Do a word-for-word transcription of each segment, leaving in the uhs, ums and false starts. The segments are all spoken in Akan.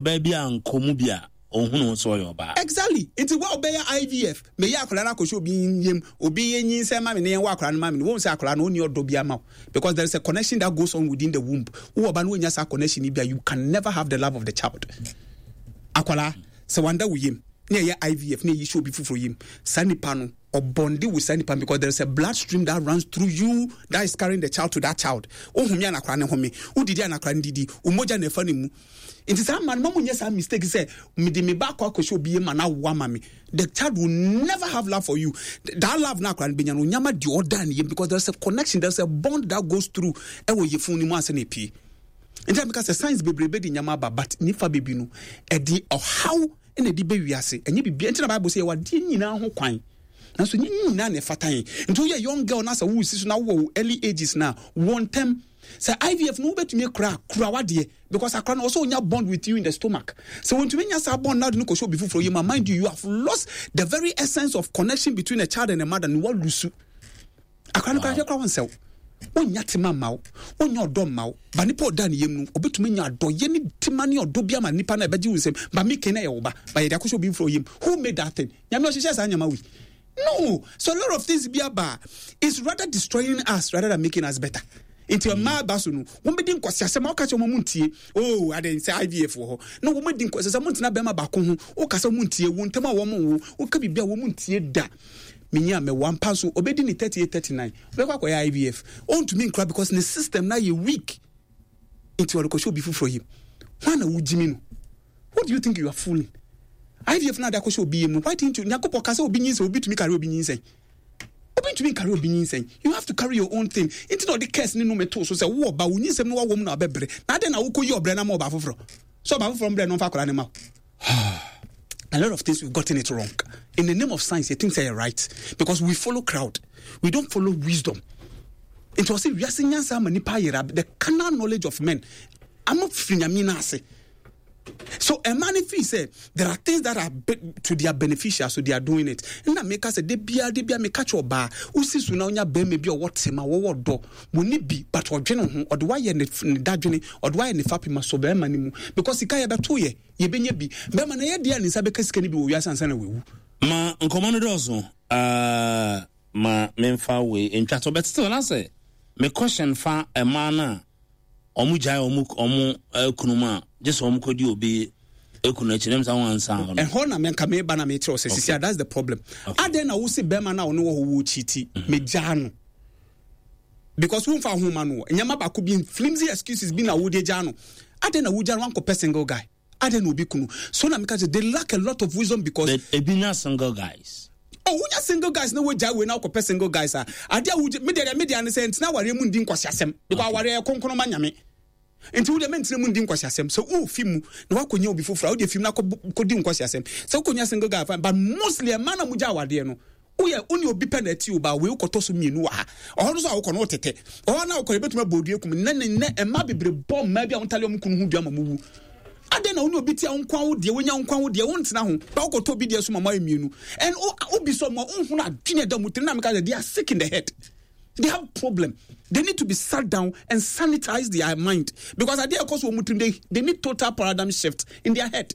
Ɔbaa bi a nkɔ mu bi a ɔhunu sɛ ɔyɛ ɔbaa. Exactly. Nti wo a wobɛyɛ I V F, meyɛ akwadaa no akɔhyɛ obi yam, obi yɛ nyinsɛn ma me ne yɛn wɔ akwadaa no ma me no, wɔn sɛ akwadaa no ɔnni ɔdɔ bi ama wo, because there is a connection that goes on within the womb. Wo ɔba no, wonya saa connection yi bi a, you can never have the love of the child. Akwadaa sɛ wanda wo yam ne ɛyɛ I V F ne ɛyi hyɛ obi foforɔ yam, saa nipa no ɔbɔnde with saa nipa, because there is a blood stream that runs through you that is carrying the child to that child. Ohun mi anakora ne home, wodidi anakora ne didi, omogya na ɛfa ne mu. Nti saa mma no, ma mo nyɛ saa mistake sɛ mede me ba akɔ akɔhyɛ obi yam ma na awo ama me. The child will never have love for you. That love na akora no benya no, onyama deɛ ɔda ne yam, because there is a connection, there is a bond that goes through ɛwɔ yɛfun ne mu ansa na epie. Nti a meka sɛ science bebrebe de nyama aba, but nifa bebi no ɛde ɔhaw ɛna ɛde bɛ wiase. Ɛnyɛ biribi nti na Bible sɛ yɛwɔ adeɛ nyinaa ho kwan, nanso nyɛ nyinaa na ɛfata yɛn. Nti woyɛ young girl na sɛ wosi so na wowɔ wo early ages na wɔ ntɛm sɛ I V F no, wobɛtumi akura kura wadeɛ, because akora no ɔsɛ onya bond with you in the stomach. Sɛ wɔntumi nya saa bond na de no kɔhyɛ obi foforɔ yi ma, mind you, you have lost the very essence of connection between a child and a mother. Ne walose akora no kora hwɛ kora, wɔnsɛw wonya tema mma wo, wonya ɔdɔ mma wo ba. Nipa ɔda ne yam no, obɛtumi nya adɔyɛ ne tema ne ɔdɔ bi ama nipa no a ɛbɛgye wo nsɛm ba. Meke na ɛyɛ wo ba ba, yɛde akɔhyɛ obi foforɔ yam. Who made that thing? Nyame ɔhyehyɛ saa nyama wei no. So a lot of things bi aba is rather destroying us rather than making us better. Nti mmaa ba so no, wɔn bɛdi nkɔsi asɛm a wɔka kyerɛ wɔn mu ntie. Oh, ade sɛ I V F wɔ hɔ na wɔn adi nkɔsi sɛ wɔn ntena bɛrima baako ho, wɔkasa wɔn ntie wɔn ntɛm a wɔn wo wɔka biribi a wɔn ntie da. Menyi a mɛwɔ ampa so, ɔbɛdi ne thirty eight, thirty nine, ɔbɛkɔ akɔyɛ I V F, ɔntumi nkura because ne system na yɛ weak. Nti ɔde kɔhyɛ obi foforɔ yam. Hwan na wogyimi no? Who do you think you are fooling? I V F na ade akɔhyɛ obi yam no, why didn't you? Nyankopɔn ka sɛ obi nyinsɛn, obi tumi carry obi nyinsɛn? Obi ntumi carry obi nyinsɛn. You have to carry your own thing. Nti na ɔde curse ne nnome to so sɛ wo ɔba, wo nyinsɛm no wawɔ mu na ɔbɛbrɛ na adɛn na wokɔ yi ɔbrɛ na ma ɔba foforɔ sɛ ɔba foforɔ mbrɛ no mfa akwadaa ne ma wo. A lot of things, we've gotten it wrong in the name of science. You think say right because we follow crowd, we don't follow wisdom. Nti ɔsɛ wiase nyansa ama nipa ayera, the carnal knowledge of men ama firi Nyame no ase. So ɛma no feel sɛ there are things that are be, to their beneficial, so they are doing it. Nna meka sɛ de bia de bia meka kyerɛ ɔbaa, wosi so na wonya bɛrima bi a ɔwɔ tema, wɔwɔ dɔ, wɔni bi, but ɔdwene ho, ɔde wayɛ ne ne dadwene, ɔde wayɛ ne fapema so bɛrima no mu, because sika yɛbɛto yɛ yɛbɛnya bi, bɛrima no ɛyɛ deɛ a ne nsa bɛka sika no bi wɔ wiase ansa na wawu. Ma nkɔmmɔ no dɔɔso. uh, ma memfa wei ntwa so bɛtete na sɛ me question fa ɛmaa no a ɔmo gyae ɔmo ɔmo ekunu mu a, gye sɛ ɔmo kɔdi obi ekunu akyi nem sɛ wɔn ansa hɔ no. Ɛhɔ na menka meba na mekyerɛ wo sɛ sisia, that's the problem. Okay. Adɛn na wo se bɛrima no a ɔne wɔ hɔ wɔ kyiti, megyaa no because womfa ho ma no, nneɛma baako bi, flimsy excuses bi na wode gyaa no. Adɛn na wogyaa no wankɔpɛ single guy? Adɛn na obi kunu so? Na meka sɛ they lack a lot of wisdom because But ebi nya single guys. Oh, wonya single guys na wogyaa wei na wokɔpɛ single guys a, adeɛ a wogye medeɛ deɛ medeɛ ne sɛ ntena awareɛ mu ndi nkwasi asɛm, because awareɛ yɛ kronkron ma Nyame. Nti wodeɛ mentena mu ndi nkwasi asɛm sɛ wofi mu na woakɔnya obi foforɔ a, wode fi mu na kɔdi nkwasi asɛm sɛ wokɔnya single guy, fine. But mostly ɛma na mogya awadeɛ no, woyɛ wo ne obi pɛ na ɛte o ba wei, wokɔtɔ so mmienu wɔ ha, ɔhɔ no so a wokɔ no wotete ɔhɔ na wokɔ, yɛbɛtumi abɔ odua kum nnɛ ne nnɛ. Ɛma bebree bɔ mmaa bi a wontale ɔmo kunu ho dua ma mo wu. Adɛn na wo ne obi te a, wo nkwa wo deɛ wonya, wo nkwa wo deɛ wontena ho ba, wokɔtɔ obi deɛ so ma mo ayɛ mmienu, and wobi sɛ ɔmo a wonhunu adwene ɛda mu tiri na meka sɛ they are sick in the head. They have problem. They need to be sat down and sanitize their mind, because adeɛ ɛkɔ so wɔn tirim, they they need total paradigm shift in their head.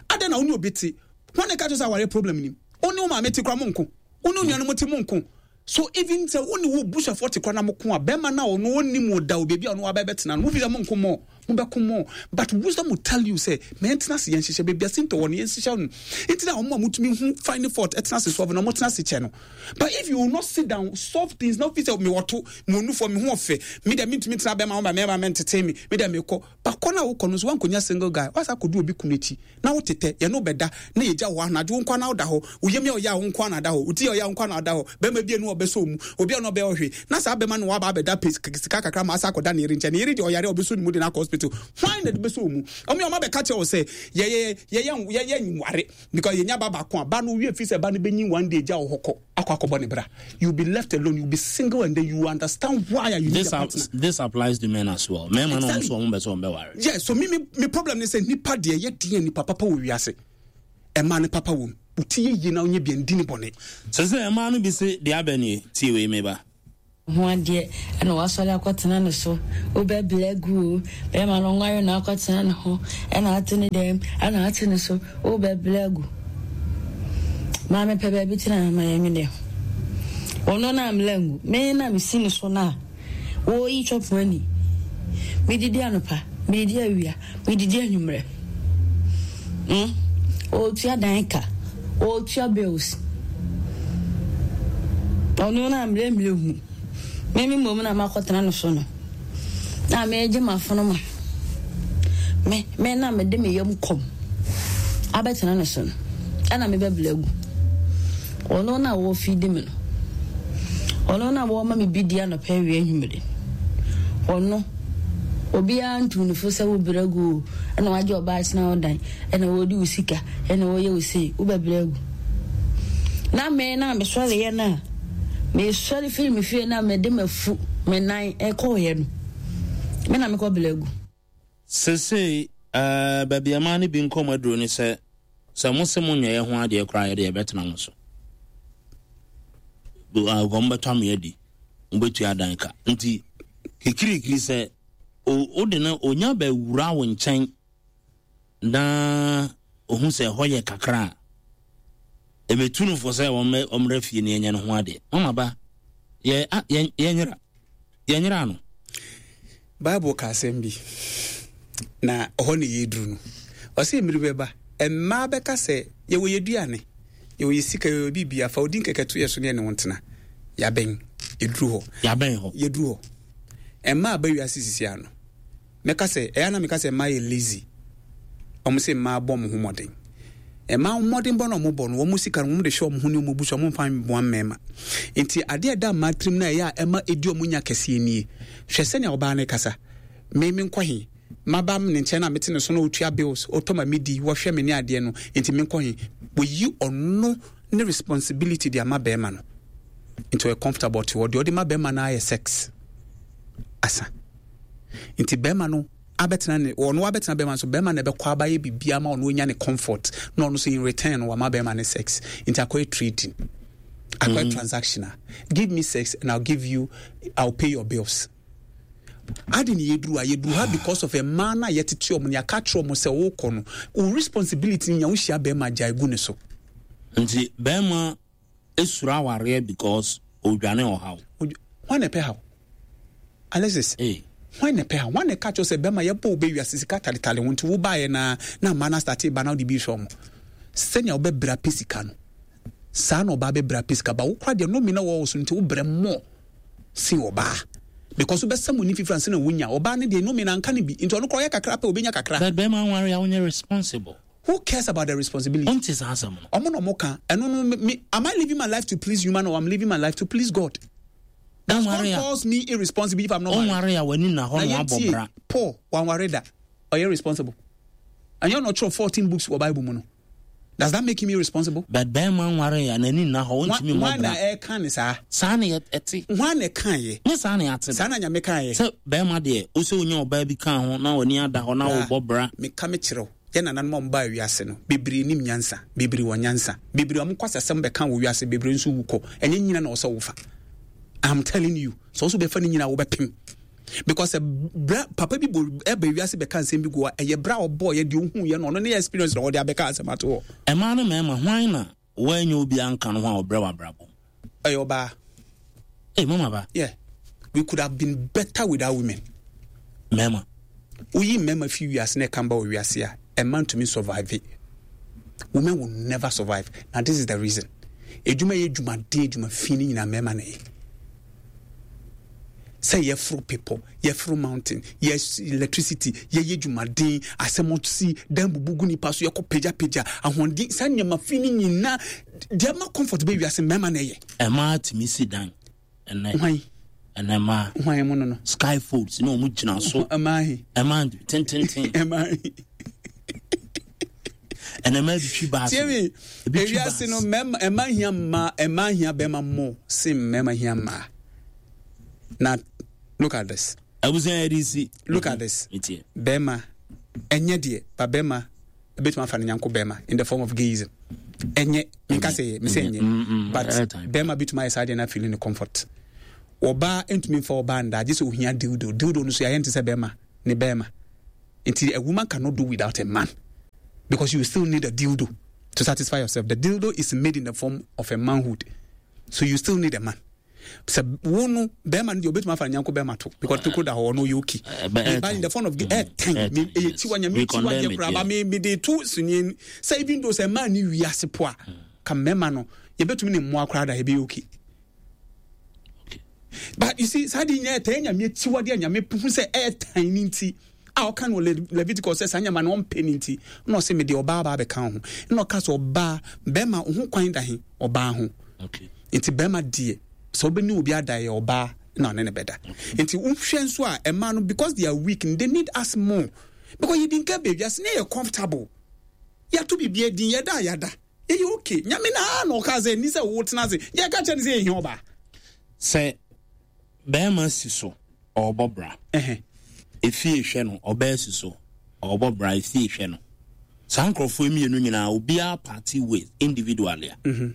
Adɛn na wo ne obi te wɔn na ɛka kyerɛ sɛ aware problem nim? Wo ne wo maame te kora mo nko, wo ne nuanom te mo nko. So even sɛ wo ne wo busuafoɔ te kora na mo ko a, bɛrima na ɔno ɔnim wo da o, beebi a ɔno waba bɛtena no, mo fi sɛ mo nko mɔ, mo bɛko mɔ. But wisdom will tell you sɛ mɛ yɛntena ase, yɛn hyehyɛ beebi a sintɔ wɔ no, yɛn hyehyɛ no. Nti na wɔn a motumi hu find fault ɛtena ase solve na wɔn tena ase kyɛ no. But if you will not sit down solve things na ofi sɛ mi wɔ to mi wɔ nufoɔ, mi ho ɔfɛ, mi dɛ mi ntumi tena bɛrima ho ba mɛrima mɛ ntete mi, mi dɛ mi kɔ bakɔ na wokɔ no nso wankɔnya single guy, wasa akɔdu obi kunu akyi na wotetɛ yɛne wobɛda na yɛgya wɔ anadwo, wo nkwa na woda hɔ, wo yam yɛ ɔyɛ a, wo nkwa na ada hɔ, wo ti yɛ ɔyɛ a, wo nkwa na ada hɔ. Bɛrima bi enu ɔbɛsɔ mu, obi a ɔno ɔbɛyɛ ɔhwe na saa bɛrima no waba abɛda pe sika kakra ma asa akɔda ne yere nkyɛn. Ne yere deɛ ɔyare a, ɔbɛsɔ ne mu de no akɔ hospital. Hwan na de bɛsɔ mu? Ɔmo yɛ ɔmo abɛka kyerɛ wo sɛ yɛyɛ yɛyɛ yɛyɛ nware because yɛnya ba baako a, ba no wie fi sɛ ba no bɛnyin one day gya wɔ hɔ kɔ akɔ akɔbɔ ne bra. You be left alone, you be single, and then you understand why you need this a partner. This applies to men as well. Mmarima no Exactly. nso ɔmo bɛ sɛ ɔmo bɛ ware. Yeah, so me me me problem ne sɛ nipa deɛ yɛ deɛ nipa papa wɔ wiase, ɛmaa ne papa wɔ mu, wo ti yɛ yie na wonyɛ bia ndi ne bɔne. Sɛ sɛ mmaa no bi se deɛ abɛ nie, tie wei meba. Ho adeɛ ɛna wasɔre akɔtena ne so. Wobɛbrɛ agu o, bɛrima no nware na akɔtena ne ho, ɛna ate ne dɛm, ɛna ate ne so, wobɛbrɛ agu. Maame pɛ baabi tena ma yɛnwene ho. Ɔno na amla ngu, me na mesi ne so na wɔyi twɔpo ani. Medidi anɔpa, medidi awia, medidi anwummerɛ. Mm? Ɔtua dan ka, ɔtua bills. Ɔno na mmerɛ mmerɛ hu. Me me mmom na makɔtena no so no. Na megye m'afono ma. Me me na mede me yam kɔm abɛtena no so no. Ɛna mebɛbrɛ agu. Ɔno na wɔfidi me no. Ɔno na wɔma me bi di anɔpa, awia, anwummere. Ɔno obiara ntu ne fo sɛ wobrɛ agu o, ɛna wagye ɔbaa tena wo dan, ɛna wɔdi wo sika, ɛna wɔyɛ wo sei, wobɛbrɛ agu. Na me na mesɔreyɛ no a, mesɔre firi me fie na mede mafu me nan ɛkɔɔyɛ no, me na mekɔbrɛ agu. Sesei uh, baabi a maa no bi nkɔm aduro ne sɛ sɛ mo se mo nyɛɛ ho adeɛ koraa, yɛde yɛbɛtena mo so, wɔn bɛtɔ ame adi, wobɛtua dan ka. Nti kikirikiri sɛ wode no onya bɛwura wo nkyɛn na ohu sɛ ɛhɔ yɛ kakra a, ɛbɛtu no fo sɛ ɔmmrɛ fie ne ɛnyɛ no ho adeɛ. Mama ba yɛ yɛnyera yɛnyera no. Bible ka asɛm bi na ɔhɔ ne yɛduru no. Ɔsɛ mmiri bɛba, mmaa bɛka sɛ yɛwɔ yɛ duane, yɛwɔ yɛ sika, yɛwɔ biribi afa odi nkɛkɛ to yɛ so ne ɛne wo ntena. Yɛabɛn, yɛduru hɔ. Yɛabɛn hɔ. Yɛduru hɔ. Mmaa aba wiase sisi ano, mɛka sɛ ɛyɛ na meka sɛ mmaa yɛ lazy. Ɔmo sɛ mmaa bɔ ɔmo ho mmɔden. Mmaa mmɔden bɔ na ɔmo bɔ no, wɔn sika no wɔn de hwɛ ɔmo ho ne ɔmo bu so, ɔmo mfa mboa mmarima. Nti adeɛ ɛda mmaa tirim na ɛyɛ a ɛma edi ɔmo nya kɛseɛ nie. Hwɛ sɛnea ɔbaa no kasa: me me nkɔ he? Maba ne nkyɛn na mete ne so na ɔtua bills, ɔtɔ ma me di, wɔhwɛ me ne adeɛ no, nti me nkɔ he? Wɔyi ɔno ne responsibility de ama bɛrima no, nti ɔyɛ comfortable te hɔ. Deɛ ɔde ma bɛrima no ayɛ sex asa, nti bɛrima no abɛtena ne ɔno abɛtena bɛrima so. Bɛrima na ɛbɛkɔ abayɛ biribiara ma ɔno anya ne comfort, na ɔno nso in return no wama bɛrima ne sex. Nti akɔyɛ trading, akɔyɛ mm. transactional: give me sex and I'll give you, I'll pay your bills. Ade ne yɛduru a yɛduru ha because of mmaa no a yɛtete ɔmo ne yɛaka kyerɛ ɔmo sɛ wokɔ no, wo responsibility nya wohyia bɛrima, gyae gu ne so. Nti bɛrima esuro awareɛ because odwane ɔhaw. Hwan na ɛpɛ haw, Alexis? Hey. Hwan na ɛpɛ haw? Hwan na ɛka kyerɛ sɛ bɛrima yɛbɔ wo bɛwiase sika taletale ho nti wobaeɛ na na mmaa no astart ba na wode bi hwɛ ɔmo sɛnea wobɛbrɛ apɛ sika no saa na ɔbaa bɛbrɛ apɛ sika ba. Wo kora deɛ nomi na wɔwɔ so nti wobrɛ mmɔ sen ɔbaa because wobɛsɛ mo ni fifiri ansa na wonya. Ɔbaa no deɛ nomi na anka no bi nti ɔno kora ɔyɛ kakra pɛ, obɛnya kakra. But bɛrima nware a wonyɛ responsible. Who cares about the responsibility? Ɔnte saa asɛm no. Ɔmo na ɔmo ka ɛno no. Me, am I living my life to please human or I'm living my life to please God? Does God calls me irresponsible if I'm not married? Ɔnware a w'ani na hɔ na wabɔ bra. Paul wanware da, ɔyɛ responsible? Ɛnyɛ ɔna ɔtwerɛ fourteen books wɔ Bible mu no? Does that make him irresponsible? But bɛrima nware a n'ani nna hɔ, ɔntumi mmɔ bra. Hwan na ɛka ne saa? Saa na ɛte. Hwan na ɛka yɛ? Ne saa na ɛate. Saa na Nyame ka yɛ. Sɛ bɛrima deɛ wosɛ wonya ɔbaa bi ka ho na w'ani ada hɔ na wobɔ bra. Meka me kyerɛw, yɛ nananom a ɔmbaa wiase no bebree nim nyansa, bebree wɔ nyansa, bebree a ɔmo kɔ asɛsɛm bɛka wɔ wiase, bebree nso wu kɔ. Ɛnyɛ nyina na ɔsɛ wofa. I'm telling you, sɛ ɔso bɛfa ne nyina, wobɛpem because bra papa bi bɔ ɛbɛ wiase bɛka nsɛm bi gu hɔ. Ɛyɛ bra ɔbɔ yɛ deɛ ohu yɛ no, ɔno ne yɛ experience na ɔde abɛka asɛm ato hɔ. Ɛmaa no mmarima, hwan na wɔanya obi anka no ho a ɔbrɛ wɔ abrabɔ? Ɛyɛ ɔbaa. Hey, mama ba. Yeah, we could have been better without women. Mmarima. Woyi mmarima fi wiase na ɛka ba wɔ wiase a, ɛma ntumi survive. Women will never survive. Now this is the reason: edwuma yɛ edwumaden, edwuma fi ne nyinaa, mmarima na yɛ sɛ yɛforo pepɔ, yɛforo mountain, yɛ electricity, yɛyɛ dwumaden, asɛm si dan bubu gu nipa so, yɛkɔ pagyapagya ahoɔden, saa nneɛma fi ne nyinaa deɛ ma comfort bɛ wiase, mmarima na ɛyɛ. Ɛmaa tumi si dan ɛnɛ. Hwan? Ɛnɛ maa. Hwan mu no no? Skyfolds na ɔmo gyina so. Ɛmaa he? Ɛmaa tententen. Ɛmaa he? Ɛnɛ maa bi twi baasi. Tie mi, ewiase no, mmarima ɛmaa hia mmaa, ɛmaa hia bɛrima mo sen mmarima hia mmaa. Na look at this. Abusua yɛ de si. Look at this. Bɛrima ɛnyɛ deɛ ba bɛrima ebetumi afa ne nyanko bɛrima in the form of gayism. Ɛnyɛ, nka sɛ yɛ mesɛ ɛnyɛ, but bɛrima bitumi ayɛ saa deɛ na feeling ne comfort. Ɔbaa ntumi nfa ɔbaa nda agye sɛ ohia dildo. Dildo no so yɛayɛ nte sɛ bɛrima ne bɛrima. Nti a woman cannot do without a man because you still need a dildo to satisfy yourself. The dildo is made in the form of a manhood, so you still need a man. Sɛ wo no bɛrima no deɛ, obɛtumi afa ne nyanko bɛrima to because tokuro da hɔ, ɔno yɛ okay. But in the form of ɛɛtɛn, ɛyɛ tiwa, Nyame tiwa deɛ koraa ba me me de to sunie sɛ even though sɛ mmaa ni wiase po a, ka mmarima no yɛbɛtumi ne mmoa koraa da, yɛbɛyɛ okay. But you see, saa de nyinaa ɛtɛn Nyame akyiwadeɛ a Nyame hu sɛ ɛɛtan ne nti a ɔka no Leviticus sɛ saa nyama no ɔmpɛ ne nti na ɔsɛ mede ɔbaa baa bɛka ho, na ɔka sɛ ɔbaa bɛrima ho kwan da he ɔbaa ho. Nti bɛrima deɛ, sɛ wobɛne obi ada, yɛ ɔbaa na ɔne ne bɛda. Nti wohwɛ nso a, ɛmaa no, because they are weak, they need us more, because yɛdi nka baabi ase ne yɛ comfortable, yɛato biribi adin, yɛda a yɛada, ɛyɛ okay. Nyame naa na ɔka sɛ ni sɛ wotena ase, yɛka kyerɛ no sɛ yɛhia ɔbaa. Sɛ bɛrima si so ɔrebɔ bra, efie hwɛ no, ɔbaa si so ɔrebɔ bra, efie hwɛ no, saa nkurɔfoɔ mmienu nyinaa, obiara party with individually a, mhm.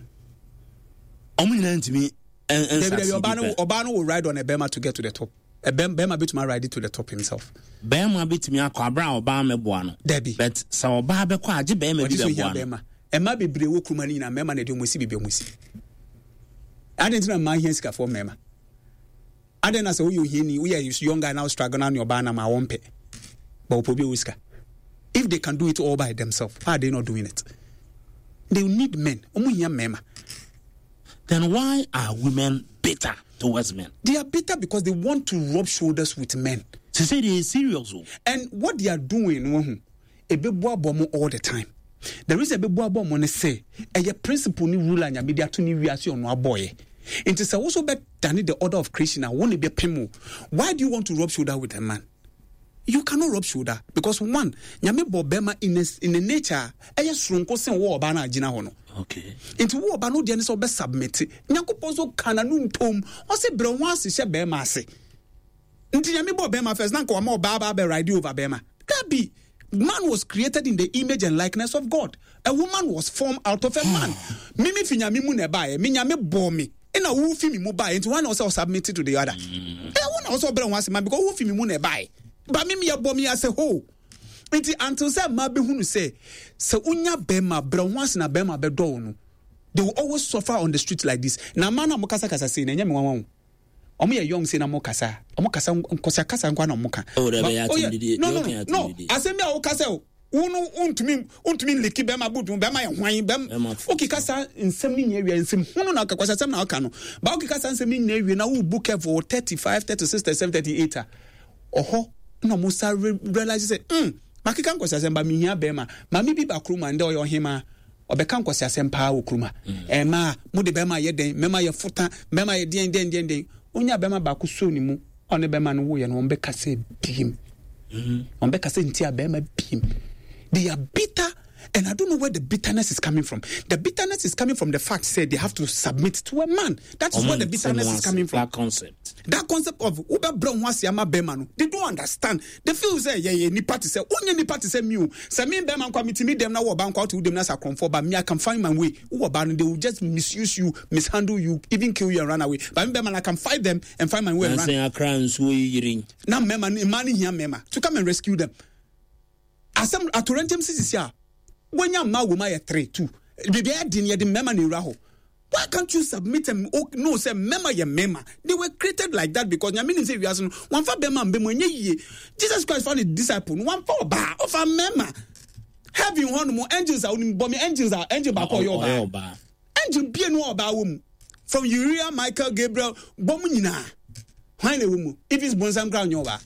ɔmo nyinaa ntumi. Ɔbaa no ɔbaa no will ride on a bɛrima to get to the top. Bɛrima bɛtumi ride to the top himself. Bɛrima bɛtumi akɔ abere a ɔbaa mɛboa no. Dabi. But sɛ ɔbaa bɛkɔ agye bɛrima bi bɛboa no. Ɛma bebree wɔ kuruma no nyinaa, mmarima na ɛde ɔmo si beebi ɔmo si. Adan ti na mmaa hia sikafoɔ mmarima? Adan na sɛ woyɛ ohiani, woyɛ young guy na wo struggle na ne ɔbaa nam a, wɔmpɛ, but wɔpɛ obi a ɔwɔ sika. If they can do it all by themselves, why are they not doing it? They need men. Ɔmo hia mmarima. Then why are women bitter towards men? They are bitter because they want to rub shoulders with men. They say they are serious o. And what they are doing no ho ebeboaboa mo all the time. The reason ebeboaboa mo ne sɛ ɛyɛ principle ne rule a Nyame de ato ne wiase, ɔno abɔɔyɛ. Nti sɛ woso bɛ dane the order of creation a, wo ne bɛ pem o. Why do you want to rub shoulder with a man? You cannot rub shoulder because one, Nyame bɔ bɛrima in a, in a nature a ɛyɛ soronko sen wo ɔbaa no a gyina hɔ no. Okay. Nti wo ɔba no deɛ ne sɛ wobɛ submit. Nyankopɔn nso ka n'ano ntom, ɔsɛ brɛ ho ase hyɛ bɛrima ase. Nti Nyame bɔ bɛrima first na nka wama ɔbaa ba bɛ ride over bɛrima? Dabi. Man was created in the image and likeness of God. A woman was formed out of a man. Mimi fi Nyame mu na ɛbaeɛ. Me Nyame bɔɔ me ɛna wo fi mi mu baeɛ, nti wɔn na ɔsɛ ɔsubmit to the other. Ɛ wo na ɔsɛ ɔbrɛ ho ase ma because wo fi mi mu na ɛbaeɛ, ba mi mi yɛ bɔ mi as a whole. Nti until sɛ mmaa bɛhunu sɛ sɛ wonya bɛrima, brɛ ho ase na bɛrima bɛdɔ wo no, they will always suffer on the street like this. Na mmaa no a mo kasakasa sei na ɛnyɛ me nwanwa o. Ɔmo yɛ young sei na mo kasa, ɔmo kasa nkɔsia kasa nkwa na ɔmo ka. Oh, dɛ bɛyɛ atɛmdidie. No, no, no, asɛm bi a woka sɛ wo no wontumi wontumi nliki bɛrima butu, bɛrima yɛ hwan bɛrima? Wokeka saa nsɛm no nyinaa wie, nsɛm hunu na kɔsɛ asɛm na ɔka no ba, wokeka saa nsɛm no nyinaa wie na wobu careful thirty five, thirty six, thirty seven, thirty eight a, ɔhɔ na ɔmo sa realize sɛ mm makeka nkɔsɛ asɛm ba, mehia bɛrima. Maame bi ba kurom a ndɛ ɔyɛ ɔhemaa, ɔbɛka nkɔsɛ asɛm paa wɔ kurom a ɛmaa mo de bɛrima yɛ dɛn, mɛma yɛ fota, bɛrima yɛ deɛn deɛn deɛn deɛn. Onya bɛrima baako so ne mu, ɔne bɛrima no woyɛ no, wɔn bɛka sɛ biem, wɔn bɛka sɛ nti a bɛrima biem. They are bitter and I don't know where the bitterness is coming from. The bitterness is coming from the fact say they have to submit to a man. That is where the bitterness is coming from. That concept. That concept of wobɛbrɛ ho ase ama bɛrima no, they don't understand. They feel sɛ yɛyɛ nipa te sɛ wonyɛ nipa te sɛ mi o. Sɛ me bɛrima nkwa metumi dɛm na wɔ ɔba nkwa wote wo dɛm na sɛ akorɔmfoɔ ba me, I can find my way. Wowɔ ba no, they will just misuse you, mishandle you, even kill you and run away. But me bɛrima no, I can fight them and find my way and run. Nansi akra nsuo yi yiri. Na mmarima no, mmaa no hia mmarima to come and rescue them. Asɛm atorɛnkyɛm sisisi a wɔnya mmaa wɔ mu ayɛ three two biribi ayɛ den, yɛde mmarima na ewura hɔ. Why can't you submit and oh, no sɛ mmarima yɛ mmarima? They were created like that because Nyame nim sɛ wiase no wɔnfa bɛrima mbɛ mu ɛnyɛ yie. Jesus Christ fa ne disciple no, wɔnfa ɔbaa, ɔfa mmarima. Heaven hɔ nom, angels a onim bɔ me angels a, angel baako ɔyɛ ɔbaa, angel bie no ɔbaa wɔ mu, from Uriah, Michael, Gabriel, bɔ mu nyinaa, hwan na ɛwɔ mu? Even bonsam kora ɔnyɛ ɔbaa.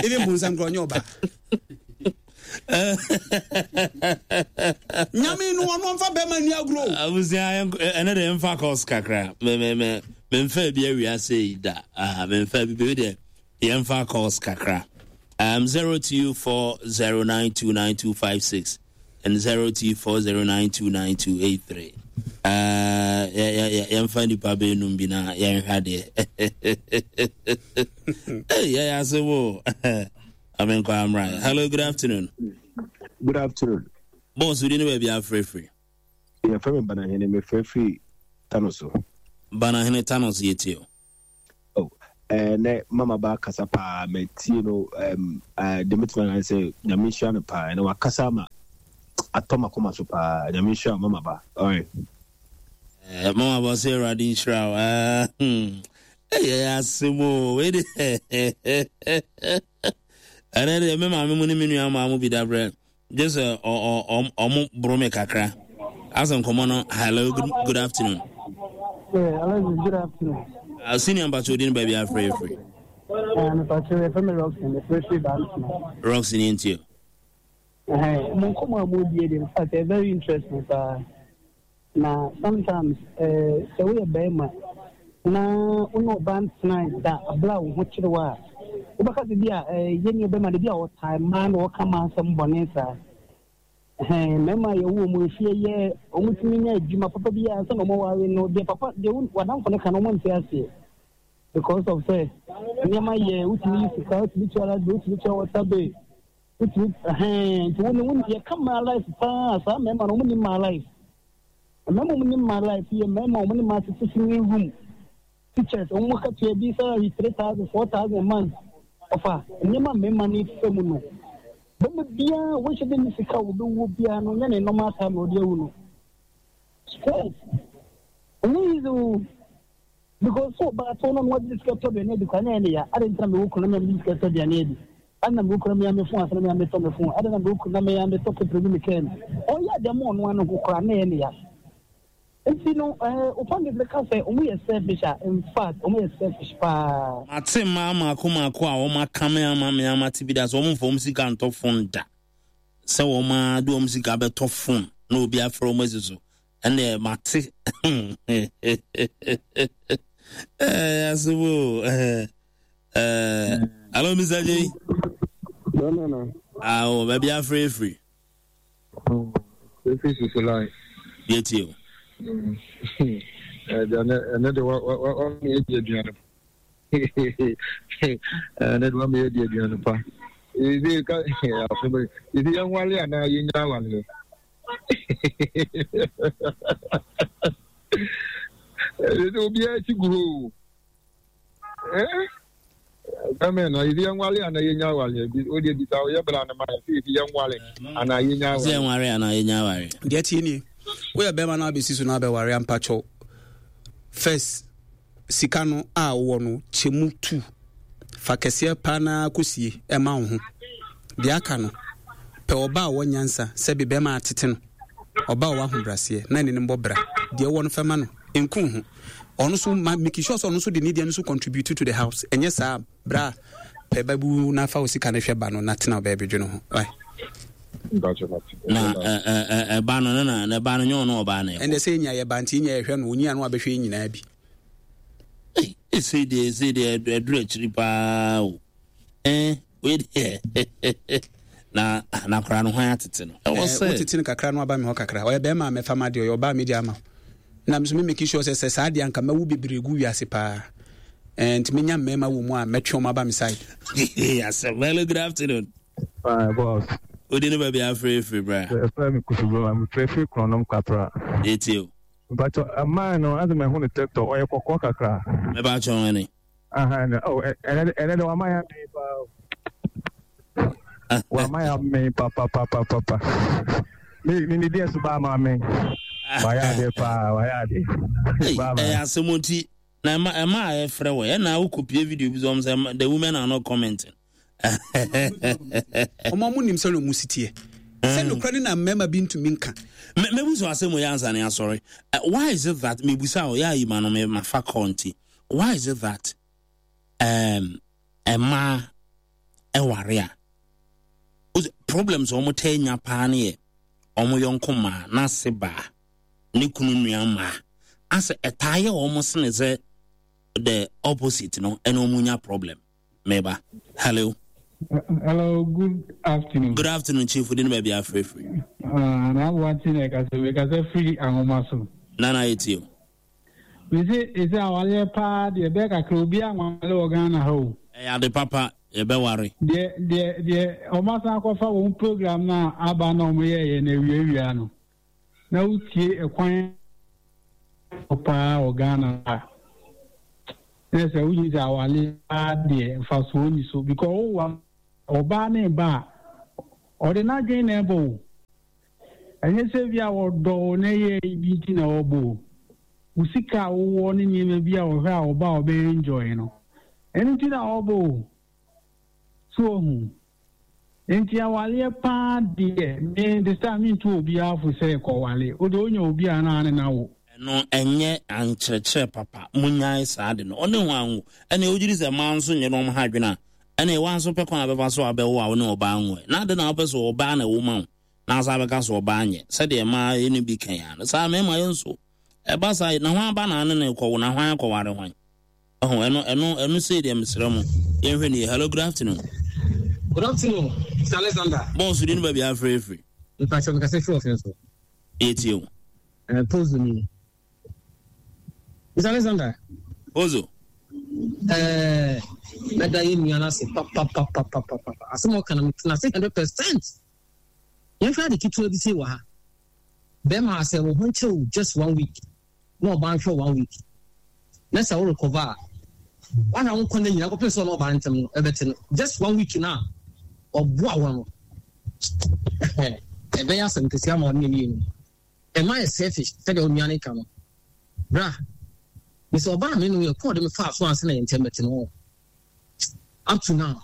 Even bonsam kora ɔnyɛ ɔbaa. Nyame no, ɔno ɔmfa bɛrima ni agorɔ. Abusua, ɛnɛ de mfa kɔs kakra. Me me me memfa bi awia sei da. Ah, memfa bi bi deɛ, yɛmfa calls kakra. um, zero two four zero nine two nine two five six and zero two four zero nine two nine two eight three. uh, yɛmfa nipa bɛnum bi na yɛnhwɛ adeɛ. Hey, yɛyɛ ase wo amenkɔ amra. Hello, good afternoon. Good afternoon. Boss, wodi ne baabi afrɛfrɛ? Yɛfrɛ me Banahene, mefrɛ firi Tano so. Banahene, Thanos, yɛtie o. Eh, ne mama ba kasa paa metie no um uh, de metuma na sɛ Nyame nhyira no paa na wakasa ma atɔ makoma so paa. Nyame nhyira mama ba. All right. Eh, mama ba sɛ Awurade nhyira wo. Ah, hmm. Ɛyɛ asɛm o. Wei de ɛnɛ deɛ me maame mu ne me nua maa mu bi da brɛ gye sɛ ɔmo boro me kakra asɛ nkɔmmɔ no. Hello, good, good afternoon. Yeah, hello, good afternoon. Uh, senior mpakyɛ odi no baabi afrɛ ɛfiri? Mepakyɛ yɛfrɛ me Roxy, mefrɛ firi Bantama. Roxy ne ntie. Mo nkɔmmɔ a modie de, in fact, ɛyɛ very interesting paa. Na sometimes eh, sɛ woyɛ bɛrima na wo ne ɔba ntena da abere a wo ho kyerɛ wo a, wobɛka sɛ bi a eh, yɛne bɛrima de bi a ɔtae mmaa na ɔka mmaa nsɛm bɔne saa. Ɛhɛn, mmarima a yɛwɔ wɔn efie yɛ wɔn tumi nya adwuma papa bi a sɛ na wɔn aware no deɛ, papa deɛ wadamfo no ka no, wɔn nte aseɛ because of sɛ nneɛma yɛ wotumi yi sika, wotumi tua light bill, wotumi tua water bill, wotumi ɛhɛn. Nti wɔn wɔn yɛka mmaa life paa, saa mmarima no wɔn ni mmaa life. Mmarima wɔn ni mmaa life yɛ mmarima wɔn ni mmaa tete single room, teachers, wɔn mu katua bi salary three thousand, four thousand a month. Ɔfa nneɛma mmarima no fɛ mu no, bɛma biara wɔhyɛ de ne sika a wɔbɛwuo biara no nyɛ ne normal time na ɔde awu no. Stress ɛnyɛ easy o, because so ɔbaa to no na wɔde sika tɔ aduane adi kwa na ɛyɛ ne ya. Ade ntina mewɔ kunu na mede sika tɔ aduane adi? Ade na mewɔ kunu na meyɛ me phone ase na meyɛ metɔ me phone? Ade na mewɔ kunu na meyɛ metɔ petrol gu me kaa mu? Ɔyɛ ade ma ɔno ano ho koraa na ɛyɛ ne ya. Nti no ɛɛ opa de ka sɛ ɔmo yɛ selfish a, in fact, ɔmo yɛ selfish paa. Mate mmaa maako maako a wɔn aka me ama me ama te bi da sɛ wɔn mfa wɔn sika ntɔ phone da, sɛ wɔn a de wɔn sika bɛtɔ phone na obi afrɛ wɔn asi so. Ɛnna mate ɛɛ asɛm o. ɛɛ ɛɛ hello, Mister J. No, no, no. Awo, baabi afrɛ efiri? Efi sisi line. Yɛtie o. Ɛnɛ de wa wa wa mi edi aduane. Ɛnɛ de wa mi edi aduane pa. Ezi ka afɔ ezi yɛn wale anaa yɛn nya awale. Ezi obiara ti gu hɔ o. Ɛɛ bɛmɛ na ezi yɛn wale anaa yɛn nya awale. O de bisa o yɛ bra ne ma yɛ sɛ ezi yɛn wale anaa yɛn nya sɛ awale. Yɛn ware anaa yɛn nya aware? Deɛ tie nie, woyɛ bɛrima no abɛsi so na abɛware ampakyɛw, first sika no a wowɔ no, kyɛ mu tu fa kɛseɛ paa na kɔsie ɛma wo ho. Deɛ aka no, pɛ ɔba a ɔwɔ nyansa sɛbi bɛrima atete no, ɔba a ɔwɔ ahobrɛaseɛ na ne ne mbɔ bra. Deɛ ɛwɔ no fɛma no nku ho. Ɔno so ma make sure sɛ ɔno nso de ne deɛ no so contribute to the house. Ɛnyɛ saa bra, pɛ ba bu na fa wo sika no hwɛ ba no na tena baabi dwene ho. Wai. Na ɛ ɛ ɛ ɛba no ne na na ɛba no nyɛ ɔno ɔbaa na ɛkɔ. Ɛnɛ sɛ ɛnya yɛ ba nti ɛnya yɛhwɛ no, onyia no abɛhwɛ yɛ nyinaa bi. Ɛsei deɛ, ɛsei deɛ ɛduru akyiri paa o. Ɛn wei deɛ na na akwaraa no hwan atete no ɛwɔ Eh, sɛ wotete no kakra no aba me hɔ kakra. Ɔyɛ bɛrima a mɛfa ma deɛ ɔyɛ ɔbaa medi ama wo. Na me so me make sure sɛ sɛ saa deɛ anka mɛwo bebree gu wiase paa. Eh, nti menya mmarima wɔ mu a mɛtwe ɔmo aba me side. Asɛm. Hello, good afternoon. Hi, boss. Wodi ne baabi afrɛ efiri, bra? Ɛfrɛ me Kofi Broma, mefrɛ firi Korɔnom Kwapra. Yɛtie o. Mpakyɛ, ɛmaa no, ase mahu no TikTok, ɔyɛ kɔkɔɔ kakra. Mɛba akyɛw ɛne Aha, no, oh, ɛ- ɛnɛ ɛnɛ de wama yɛ amee paa o. Wama yɛ amee papapapapa. Me me ne deɛ so baa ma amee. Wayɛ adeɛ paa, wayɛ adeɛ. Ei, Bye bye. ɛyɛ asɛm nti na ɛma ɛma a yɛfrɛ wɔ ɛna wokɔpie video bi sɛ ɔm sɛ the women are not commenting. Ɔmo ɔmo nim sɛ ɔmo si teɛ sɛ nokora ne na mmarima bi ntumi nka. Me- mebusa asɛm wɔ yɛ ansa ne asɔre. Uh, why is it that mebusa o yɛ ayi ma no me mafa kɔ nti, why is it that um, ɛmaa ɛware a wose problems a ɔmo taa nya paa ne yɛ ɔmo yɔnko maa n'ase baa ne kunu nua maa asɛ ɛtaa yɛ ɔmo sene sɛ the opposite no ɛna ɔmo nya problem? Meba, hello. Hello, good afternoon. Good afternoon, Chief. Wodi ne baabi afrɛfiri? Uh, na aboante na ɛkasa, mekasa firi ahoma so. Nana, yɛtie o. Mese ɛsɛ awareɛ paa deɛ, ɛbɛyɛ kakra obi anwale wɔ Ghana ha o. Ɛyɛ ade papa, yɛbɛware. Deɛ deɛ deɛ ɔmo asan akɔfa wɔn program no a aba na ɔmo yɛɛyɛ na awiawia no na wotie ɛkwan paa wɔ Ghana ha. Na sɛ wogye sɛ awale paa deɛ, mfasoɔ ni so because wowa ɔbaa ne ba a, ɔde n'adwene na ɛbɔ wo. Ɛnyɛ sɛ bi a wɔdɔ wo na ɛyɛ bi nti na wɔbɔ wo. Wo sika a wowɔ ne nneɛma bi a wɔhwɛ a ɔba a ɔbɛyɛ enjoy no, ɛno nti na wɔbɔ wo. So ohu nti awaleɛ paa deɛ, me de sɛ mentu obiara fo sɛ kɔwale wode wonya obi a na ne na wo. Ɛno ɛnyɛ ankyerɛkyerɛ papa. Monyae saa de no. Ɔne ho anwo ɛne wogyiri sɛ mmaa nso nyɛ no ɔmo ha adwene a, ɛne wa nso pɛ kwan a bɛfa so abɛwo a wo ne ɔbaa nwo ɛ. Na ade na wopɛ sɛ ɔbaa na ɛwo ma wo na asa bɛka sɛ ɔbaa nyɛ sɛdeɛ mmaa yɛ no bi kan ya no saa mmarima yɛ nso ɛba saa na hwan aba na ane ne kɔwo na hwan akɔware hwan ɛho. Ɛno ɛno ɛno sei deɛ, mesrɛ mo, yɛnhwɛ ne yɛ. Hello, good afternoon. Good afternoon, Mister Alexander. Bɔɔso di no baabi afrɛfiri. Mpakyɛ, mekasa firi ɔfin so. Yɛtie o. Uh, Pozo ni. Mister Alexander. Pozo. Eh, mɛda yɛ nua no ase papapapapapa. Asɛm a ɔka no, metena ase hundred percent. Yɛmhwɛ ade ketewa bi sei wɔ ha. Bɛrima, sɛ wo ho nkyerɛ wo just one week na ɔbaa nhwɛ one week na sɛ wo recover a, wahwɛ wo nkɔ no nyinaa kɔpem sɛ ɔne ɔbaa ntɛm no ɛbɛte no, just one week na ɔboa wɔ no, ɛbɛyɛ asɛm kɛseɛ ama ɔne mmienu. Ɛma yɛ selfish sɛdeɛ onua no ka no. Bra, mesɛ ɔbaa me no yɛ kɔɔ de me faa so ansa na yɛ ntɛm bɛte no. Up to now,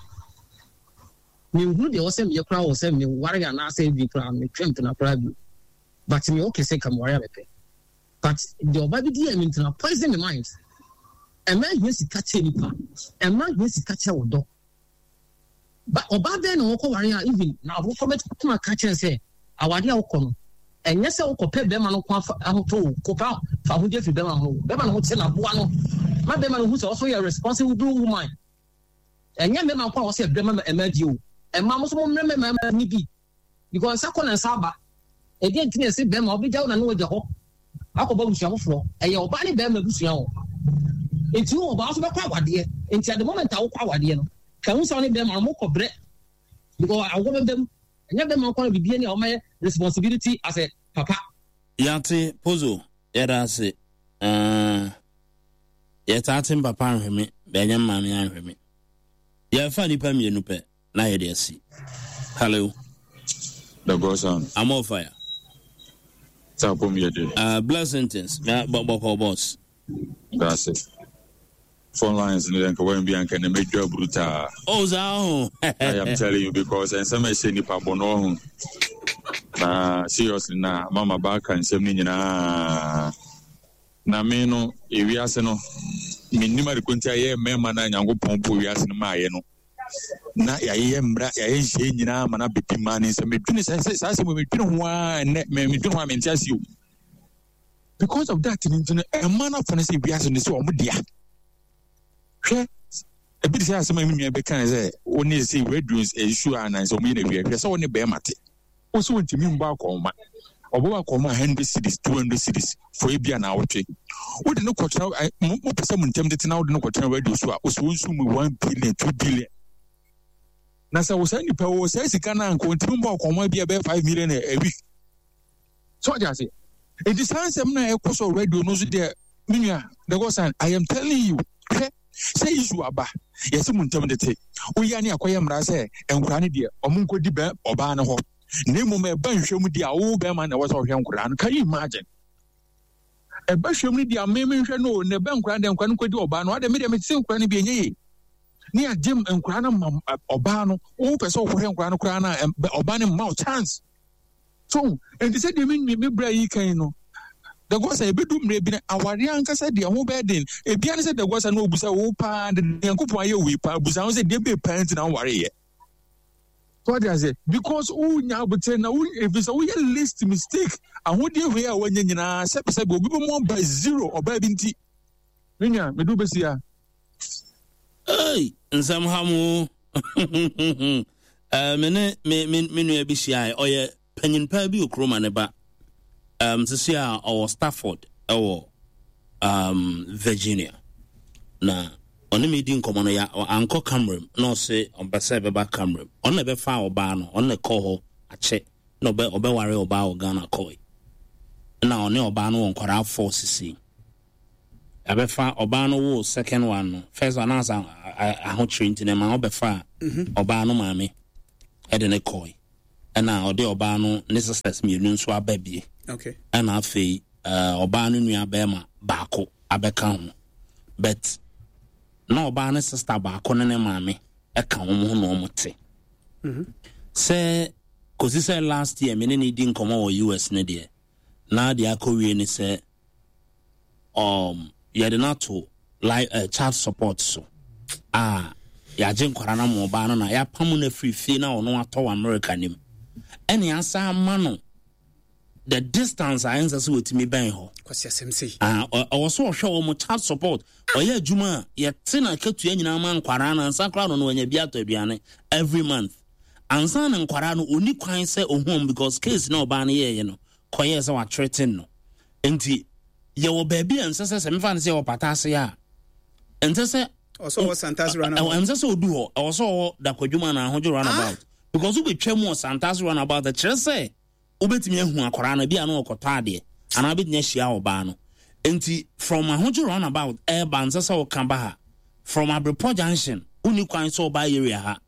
menhunu deɛ ɛwɔ sɛ meyɛ koraa wɔ sɛ meware anaasɛ bi koraa metwɛ mpena koraa bio, but meyɛ okay sɛ ka meware a mepɛ, but deɛ ɔba bi di yɛ me ntena poison me mind. Ɛma hia sika kyɛ nipa, ɛma hia sika kyɛ wo dɔ ba. Ɔbaa bɛn na wɔkɔ ware a, even na awofo bɛtuma aka kyerɛ sɛ awade a wokɔ no, ɛnyɛ sɛ wokɔpɛ bɛrima no ko afa ahotɔ o, kɔpɛ fa ahodie firi bɛrima ho. Bɛrima no ho kyɛ na boa no ma bɛrima no hu sɛ ɔso yɛ responsible woman. Ɛnyɛ mmarima nko a wɔsɛ ɛbrɛ ma ɛma di o, ɛma mo nso mo mmerɛ mmarima ni bi, because nsa kɔ na nsa aba. Ɛdeɛ nti na ɛsɛ bɛrima ɔbɛgya wo na ne wagya hɔ akɔbɔ abusua foforɔ? Ɛyɛ ɔbaa ne bɛrima abusua o. Nti wo ɔbaa nso bɛkɔ awadeɛ nti, at the moment a wokɔ awadeɛ no, ka ho sɛ wo ne bɛrima no mokɔ brɛ, because awɔ bɛbɛ mu. Ɛnyɛ bɛrima nko na biribi ni a wɔmayɛ responsibility as a papa. Yɛate, Pozo, yɛda ase. uh, yɛtaa te mpapa anhwɛ me bɛnyɛ maame anhwɛ me. Yɛfa nnipa mmienu pɛ na yɛde asi. Hello. The Godson. I'm on fire. Sapom yɛ uh, blessings bɔkɔ, boss. That's it. Phone lines no yɛn nka bi anka na medwa brutal. Oh, saa ho. I am telling you, because nsɛm a ɛhyɛ nipa bɔ no ɔho. Na seriously, na mama baaka nsɛm no nyinaa. Na me no, ewiase no, mennim ade ko nti a yɛ mmarima no a Nyankopɔn bɔ wiase no maayɛ no. Na yɛayɛ mmara, yɛayɛ nhyɛ nyinaa ma no abɛdi mmaa ne nsɛm. Medwene sɛ sɛ saa asɛm wei, medwene ho ara nnɛ, me medwene ho a mente ase o. Because of that no nti no, ɛma no afa no sɛ wiase no sɛ ɔmo dea. Hwɛ, ebi te sɛ asɛm a me nua bɛka sɛ wo ne sɛ radio nsuo a nansɛ ɔmo yɛ no awia. Hwɛ sɛ wo ne bɛrima te wo sɛ wontumi mbɔ akɔnma, ɔbɔ akɔnma hundred cedis, two hundred cedis for ebi a naawɔtwe, wode no kɔtena ɛ mo mopɛ sɛ mo ntɛm tete na wode no kɔtena radio so a, wo sɛ wonsu mu one billion, two billion. Na sɛ wo saa nipa wɔ saa sika no a, nka ɔntumi mbɔ akɔnma bi a ɛbɛyɛ five million a week so. Ɔgye ase nti saa nsɛm no a ɛkɔ so radio no so deɛ, me nua the God, I am telling you. Hwɛ sɛ issue aba, yɛsɛ mu ntɛm tete woyɛ ne akɔyɛ mmara sɛ nkwaraa no deɛ, ɔmo nkɔdi bɛ ɔbaa no hɔ, na mmom ɛba nhwɛ mu deɛ a, wo bɛrima na ɛwɔ sɛ ɔhwɛ nkwaraa no. Can you imagine? Ɛba hwɛ mu no deɛ a, me menhwɛ no o, na ɛba nkwaraa no deɛ, nkwaraa no nkɔdi ɔbaa no. Ade me deɛ, mete sɛ nkwaraa no bi ɛnyɛ yie ne yɛagye nkwaraa no ma ɔbaa no. Wopɛ sɛ wokɔhwɛ nkwaraa no koraa no a, ɔbaa no mma wo chance so. Nti sɛ deɛ me me bra yi kan no, dagɔsa ebedu mmerɛ bi na awareɛ ankasa deɛ ho bɛyɛ den. Ebia ne sɛ dagɔsa na obusa wo paa de, Nyankopɔn ayɛ wei paa, busa ho sɛ deɛ bɛyɛ paa nti na woware yɛ so. Ɔde ase because wonya abotire na wo efi sɛ woyɛ least mistake, ahodeɛ wei a wanya nyinaa, sɛbisɛbi, obi bɛ mu aba zero ɔbaa bi nti. Me nua, medu bɛsi ya. Hey, nsɛm ha mu. uh, me ne me me me nua bi hyia, ɔyɛ panyin paa bi wɔ kurom a ne ba um, sisi a ɔwɔ Stafford ɛwɔ um, Virginia, na ɔne me di nkɔmmɔ no, ya ankɔ camera mu na ɔse ɔmpɛ sɛ ɛbɛba camera mu. Ɔno na ɛbɛfa ɔbaa no, ɔno na ɛkɔ hɔ akyɛ na ɔbɛ ɔbɛware ɔbaa wɔ Ghana kɔe, na ɔne ɔbaa no wɔ nkwadaa four sisi. Yɛabɛfa ɔbaa no woo second one no, first one na asa ahokyere nti na ɛma ɔbɛfaa ɔbaa no maame ɛde ne kɔe. Ɛna ɔde ɔbaa no ne sisters mmienu nso aba bie. Okay. Ɛna afei ɔbaa no nua bɛrima baako abɛka ho. But na ɔbaa no sister baako ne ne maame ɛka wɔn ho na wɔn te. Sɛ kɔsi sɛ last year me ne ne di nkɔmmɔ wɔ U S ne deɛ, na deɛ akɔwie ne sɛ um, yɛde no ato li- uh, child support so. Ah, yɛagye nkwara no ama ɔbaa no na yɛapam no afiri fie na ɔno atɔ wɔ America nim. Ɛne asa ama no the distance a ɛnsɛ sɛ wɔtumi bɛn hɔ. Kwasi asɛm sei. Ah, ɔwɔ so ɔhwɛ wɔ mo child support. Ɔyɛ adwuma a yɛte na akatua nyinaa ma nkwara no ansa koraa no no wanya bi atɔ aduane every month. Ansa na nkwara no ɔni kwan sɛ ɔhu because case na ɔbaa no yɛɛyɛ no kɔyɛɛ sɛ watreten no. Nti yɛwɔ baabi a ɛnsɛ sɛ sɛ mefa no sɛ yɛwɔ pata ase a ɛnsɛ sɛ ɔsɛ ɔwɔ Santase runabout. Ɛnsɛ sɛ ɔdu hɔ, ɛwɔ sɛ ɔwɔ Dakwadwuma na Ahodwo runabout. Because wobɛtwa mu wɔ Santase runabout kyerɛ sɛ wobɛtumi ahu akwaraa no bi a na ɔkɔtɔ adeɛ anaa wobɛtumi ahyia ɔbaa no. Nti from Ahodwo runabout ɛɛba nsɛ sɛ ɔka ba ha. From Abrepɔ junction wonni kwan sɛ ɔbaa area ha.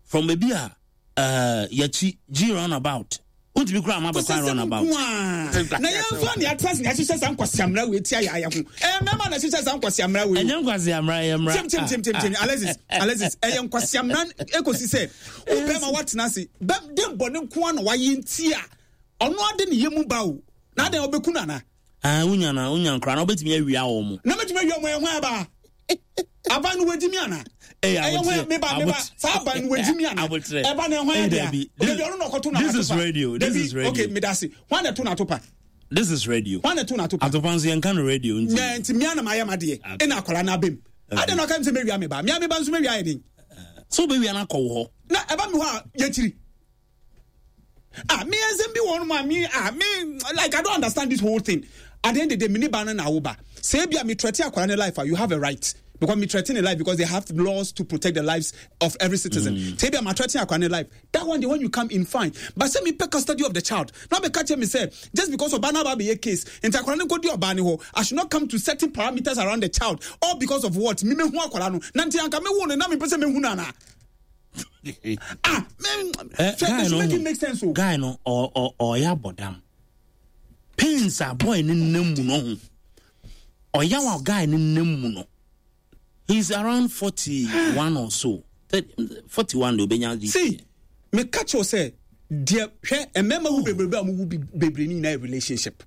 From baabi a uh, yɛkyi G runabout wontumi kura ama bɛkwan runabout. Na yɛn nso ne atena ne ahyehyɛ saa nkwasiamra wei tia yɛ ayɛ ho. Ɛyɛ mmarima na ahyehyɛ saa nkwasiamra wei. Ɛnyɛ nkwasiamra, ɛyɛ mmra. Tim tim tim tim tim Alexis Alexis ɛyɛ nkwasiamra ekosi sɛ wo bɛrima watena ase bɛ de bɔ ne nko na wayɛ nti a ɔno ade ne yɛ mu ba o na adan ɔbɛku no ana. Ah, wonya na wonya nkora na wobɛtumi awia wɔ mo. Na mɛtumi awia mo ɛho aba. Aban no wagyi mi ana? Ɛyɛ hwan meba meba saa aban no wagyi mi ana? Ɛba na ɛhwan yɛ dea? Dabi ɔno na ɔkɔto na This is radio. This is radio. Okay, medase. Hwan na ɛto na atopa? This is radio. Hwan na ɛto na atopa? Atopa nso yɛnka no radio nti. Na nti mmea na mayɛ madeɛ. Ɛna akwadaa no abam. Adɛn na ɔka mi sɛ mɛwia me ba? Mmea me ba nso mɛwia ayɛ den. So wobɛwia no akɔ wo hɔ? Na ɛba mi hɔ a yɛkyiri. Ah, me nsɛm bi wɔ hɔ me ah me like I don't understand this whole thing. At the end of the day, me ni ba no na wo ba. Say bia me threaten akwara ne life, you have a right. Because me threaten the life because they have laws to protect the lives of every citizen. Mm. Say bia me threaten akwara ne life. That one, the one you come in fine. But say me pay custody of the child. Now be catch me say just because of bana be a case, and akwara ne kodi obani ho, I should not come to certain parameters around the child all because of what? Me me hu akwara no. Nanti anka me wo no na me pese me hu na na. Ah, man, uh, guy no, make it make sense. Oh. Guy no, or or or ya bodam. Pains a boy ni nemu no. Or ya wa guy ni nemu no. He's around forty-one or so. forty-one do benya. See, me catch you say, dear, a member who be who be be in a relationship.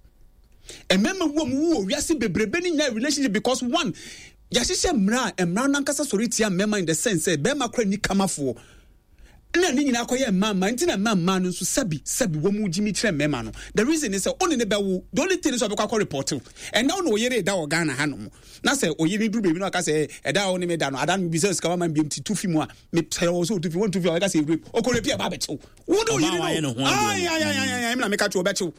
A member who we are see be in a relationship because one. Yɛahyehyɛ mmara a mmara no ankasa sɔre tia mmarima in the sense sɛ bɛrima kora ni kamafoɔ na ne nyinaa kɔyɛ mmaa mmaa nti na mmaa mmaa no nso sɛbi sɛbi wɔn mu gyimi kyerɛ mmarima no. The reason is sɛ ɔne ne bɛwo, the only thing is ɔbɛkɔ akɔ report ɛnna ɔne ɔyere da wɔ Ghana ha nom na sɛ ɔyere duru baabi na ɔka sɛ ɛda a ɔne me da no ada no bi sɛ sika wama biam ti tu fi mu a mesrɛ wɔ sɛ ɔtu fi wɔntu fi a ɔbɛka sɛ rape ɔkɔ rape a ɛba abɛkyew wo de ɔyere no ayi ayi ayi ayi na meka kyew ɔbɛkyew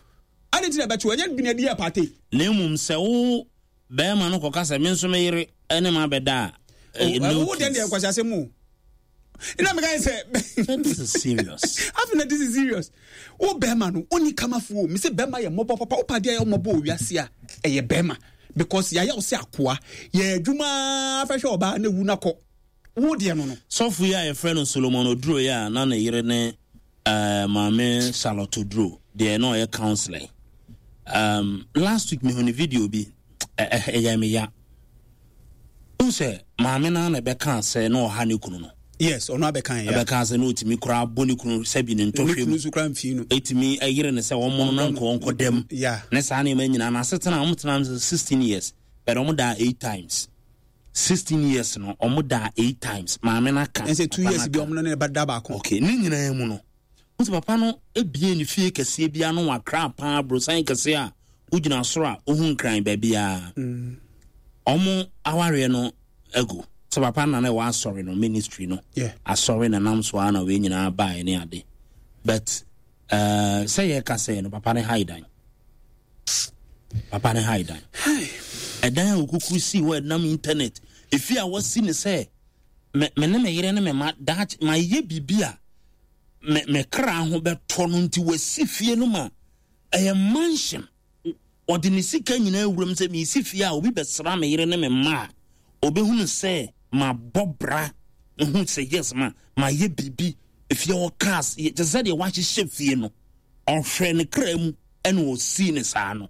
ade nti na ɛbɛkyew ɛnyɛ bi na ɛdi yɛ pate. Na mmom sɛ wo bɛrima no kɔka sɛ me nso me yere ne ma bɛda a wo deɛ deɛ nkwasi asɛm o na meka sɛ this is serious. Afei this is serious. Wo bɛrima no ɔni kamafoɔ me sɛ bɛrima yɛ mmɔbɔ papa wo padeɛ yɛ mmɔbɔ owiase a ɛyɛ bɛrima because yɛayɛ wo sɛ akoa yɛ adwuma fɛhwɛ ɔbaa na ewu na kɔ wo deɛ no no. Sɔfo yi a yɛfrɛ no Solomon Oduro yi a na ne yere ne uh, maame Charlotte Oduro deɛ na ɔyɛ counselor. Um, last week mehu ne video bi ɛyɛ me ya. Wo sɛ maame na na ɛbɛka sɛ na ɔha ne kunu no. Yes, ɔno abɛka ya. Ɛbɛka sɛ na ɔtumi koraa bɔ ne kunu sɛ bi ne ntɔhwɛ mu. Ne kunu mfii no. Ɛtumi ɛyere ne sɛ wɔn no nkɔ nkɔ dɛm. Yeah. Ne saa nneɛma nyinaa na asetena wɔn tena sixteen years but wɔn daa eight times. sixteen years no wɔn daa eight times. Maame na ka. Ɛsɛ two years bi wɔn no ne ba da baako. Okay, ne nyinaa mu no. Wo sɛ papa no ebie ne fie kɛseɛ bi ano wakra paa brosan kɛseɛ a wogyina soro a wohu nkran baabiara. Ɔmo awareɛ no agu. Sɛ papa na na ɛwɔ asɔre no ministry no. Asɔre na nam so a na wei nyinaa baeɛ ne ade. But uh, sɛ yɛka sɛ no papa ne hae dan. Papa ne hae dan. Ɛdan a okukuru si hɔ ɛnam internet. Efi a wasi ne sɛ me me ne me yere ne me ma daakye ma yɛ biribi a me me kra ho bɛtɔ no nti wasi fie no ma ɛyɛ mansion. Ɔde ne sika nyinaa wuram sɛ mesi fie a obi bɛsra me yere ne me mma a obɛhunu sɛ mabɔ bra, hu sɛ yes, ma mayɛ biribi. Efie hɔ cars te sɛ deɛ wahyehyɛ fie no, ɔhwɛ ne kra mu ɛna ɔsii ne saa no.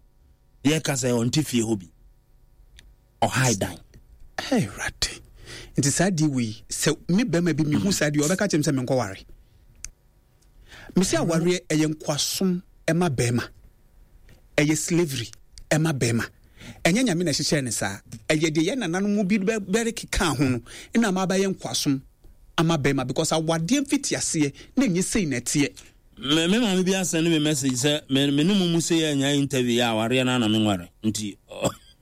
Yɛka sɛ ɔnte fie hɔ bi, ɔhae dan. Awurade, nti saa deɛ wei sɛ me bɛrima bi mehu saa deɛ, ɔbɛka kyerɛ me sɛ menkɔware. Mesi awareɛ ɛyɛ nkoasom ɛma bɛrima, ɛyɛ slavery ɛma bɛrima. Ɛnyɛ Nyame na ɛhyehyɛ ne saa, ɛyɛ deɛ yɛ nananom bi bɛre keka ho no ɛna ama abɛyɛ nkoasom ama bɛrima, because awadeɛ mfiti aseɛ na ɛnyɛ sei na ɛteɛ. Me me maame bi asɛn me message sɛ me me ne mu mu sɛ yɛ anya interview yɛ awareɛ no ana me nware nti.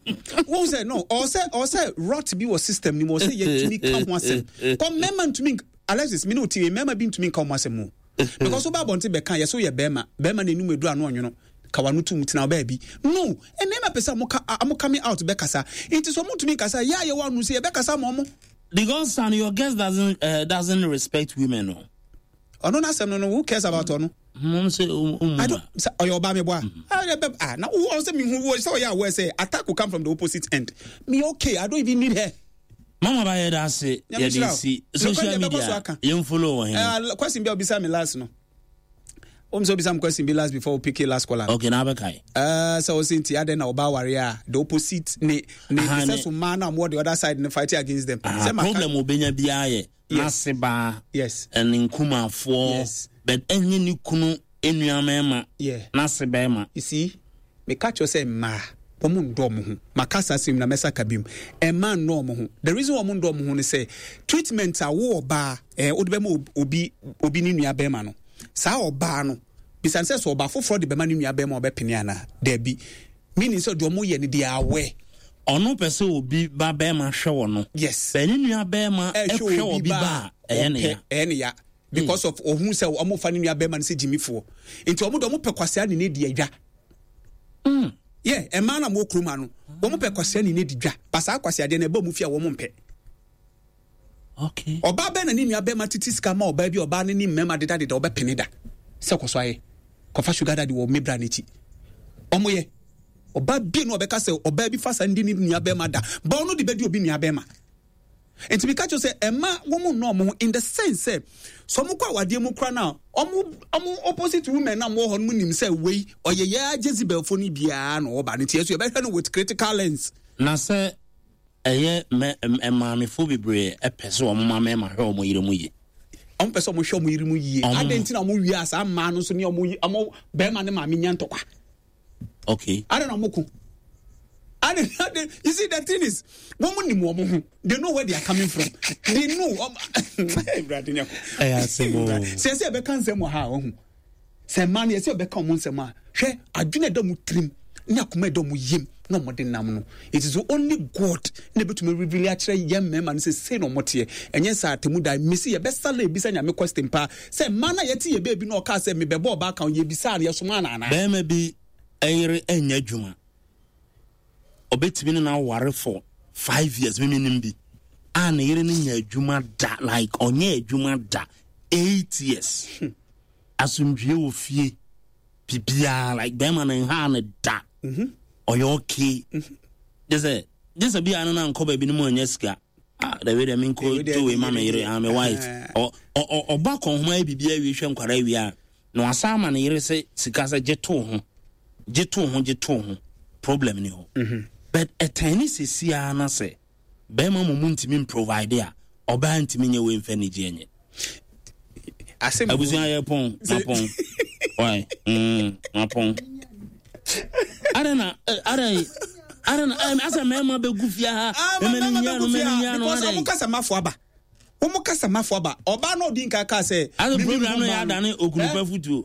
Wɔn sɛ no, ɔsɛ ɔsɛ rot bi wɔ system ni mu, ɔsɛ yɛtumi ka ho asɛm kɔ mmarima ntumi. Alexis, mi ne o ti mmarima bi ntumi nka wɔn asɛm o, because wo ba abɔnten bɛka yɛ so yɛ bɛrima bɛrima na enum edu ano ɔnwono kawa no tum tena ɔbaa bi no. Mmarima pɛ sɛ ɔmo ka, ɔmo coming out bɛkasa, nti sɛ ɔmo ntumi nkasa yɛ a yɛwɔ ano sɛ yɛbɛkasa ama ɔmo. Because son, your guest doesn't uh, doesn't respect women o. Ɔno n'asɛm no no who cares about ɔno? Mo sɛ o mu I don't sɛ ɔyɛ ɔbaa mi bɔ a ah na wo sɛ mi hu wo sɛ ɔyɛ aware sɛ attack will come from the opposite end. Me, okay, I don't even need her. Mama ba, yɛ da ase. Yɛde si social media, yɛn follow wɔ hɛn. Question bi a obisa mi last no, wɔn sɛ obisa mi question bi last before we pick last caller. Okay, na abɛka yi. Uh, sɛ ɔsɛ nti adɛn na ɔbaa ware a the opposite ne ne ne sɛ so mmaa na ɔmo the other side ne fighting against them. Sɛ problem obenya biara yɛ n'ase baa. Yes. Ɛne nkumafoɔ. Yes. But ɛnyɛ ne kunu enua mɛɛma. Yeah. N'ase bɛɛma. You see, meka kyerɛ sɛ mmaa wɔn ndɔ wɔn ho. Maka saa asɛm na mɛsa ka biom, mmaa ndɔ wɔn ho. The reason wɔn ndɔ wɔn ho ne sɛ treatment a wo ɔbaa ɛɛ wode bɛma obi obi ne nua bɛrima no, saa ɔbaa no bisan sɛ sɛ ɔbaa foforɔ de bɛma ne nua bɛrima, ɔbɛpene anaa daabi? Meaning sɛ deɛ ɔmo yɛ no, they are aware. Ɔno pɛ sɛ obi ba bɛrima hwɛ wɔ no. Yes. Bɛn ne nua bɛrima ɛhwɛ obi ba a, ɛyɛ ne ya. Ɛyɛ ne ya because of ohun sɛ ɔmo fa ne nua bɛrima no sɛ gyimifoɔ, nti ɔmo de ɔmo pɛ kwasea ne ne di adwa. Mm. Yeah, mmaa na mo kurom ha no, wɔn pɛ kwasea ne ne di dwa, basaa kwasea deɛ na ɛbɔ mu fi a wɔn mpɛ. Okay. Ɔbaa bɛn na ne nua bɛrima tete sika ma ɔbaa bi, ɔbaa ne ne mmarima dedadeda, ɔbɛpene da sɛ kɔ so ayɛ kɔfa sugar daddy wɔ mebra n'akyi? Ɔmo yɛ ɔbaa bie no, ɔbɛka sɛ ɔbaa bi fa sa ndi ne nua bɛrima da ba, ɔno de bɛdi obi nua bɛrima. Nti meka kyerɛ sɛ ɛma wɔn nnɔ ɔmo ho in the sense sɛ sɛ ɔmo kɔ awadeɛ mu kora no a, ɔmo ɔmo opposite women na ɔmo wɔ hɔ no mu nim sɛ wei ɔyɛ yɛ Jezebel fo no biara na ɔba no, nti yɛ so yɛbɛhwɛ no with critical lens. Na sɛ ɛyɛ mɛ maamefo bebree ɛpɛ sɛ wɔn ma mɛɛma hwɛ wɔn yere mu yie. Ɔmo pɛ sɛ ɔmo hwɛ ɔmo yere mu yie. Adan nti na ɔmo wie a, saa mmaa no nso ne ɔmo ɔmo bɛrima ne maame nya ntɔkwa? Okay. Adan na ɔmo ko adan adan? You see, the thing is, wɔn mu nim wɔn ho. They know where they are coming from. They know. Ɛyɛ asɛm o. Sɛ ɛsɛ ɛbɛka nsɛm wɔ ha a, ɔho sɛ mmaa no yɛsɛ ɔbɛka ɔmo nsɛm a, hwɛ adwene ɛda ɔmo tirim ne akoma ɛda ɔmo yam na ɔmo de nam no. It is only God na ebitumi reveal akyerɛ yɛn mmarima no sɛ sei na ɔmo teɛ. Ɛnyɛ sɛ atemu da mesi yɛbɛsa la ebisa Nyame question paa sɛ mmaa no a yɛte yɛ beebi na ɔkaa sɛ mebɛbɔ ɔbaa kan, yɛbisa no, yɛsoma no anaa? Bɛrima bi ɛyere ɛnyɛ adwuma, ɔbɛtumi ne no aware for five years. Mimi nim bi a ne yere no nya adwuma da, like ɔnyɛ adwuma da eight years. Asomdwie wɔ fie, biribiara, like bɛrima no nha ne da, ɔyɛ okay. Gye sɛ gye sɛ bia no na nkɔ baabi no mu anya sika. Ah, dabi dɛ menkɔ do wei ma me yere, ah, me wife. Ɔbɔ akɔnhoma yɛ biribiara wie, hwɛ nkwara wie a, na wasan ama ne yere sɛ sika sɛ gye too ho, gye too ho, gye too ho. Problem ni hɔ, but ɛtɛn ne sɛsiaa na sɛ bɛrima mo mu ntumi mprovide a, ɔbaa ntumi nyɛ wei mfa anigye nyɛ. Abusua, yɛ pɔn mapɔn wai mm, mapɔn. Adɛn na adɛn adɛn na asɛ mmarima bɛgu fie ha? Mɛmɛ nyia no, mɛmɛ nyia no. Because ɔmo kasa mafo aba, wɔn kasa mafo aba. Ɔbaa náà odi nka kaa sɛ. Ase program no yɛ adane okunupa futuo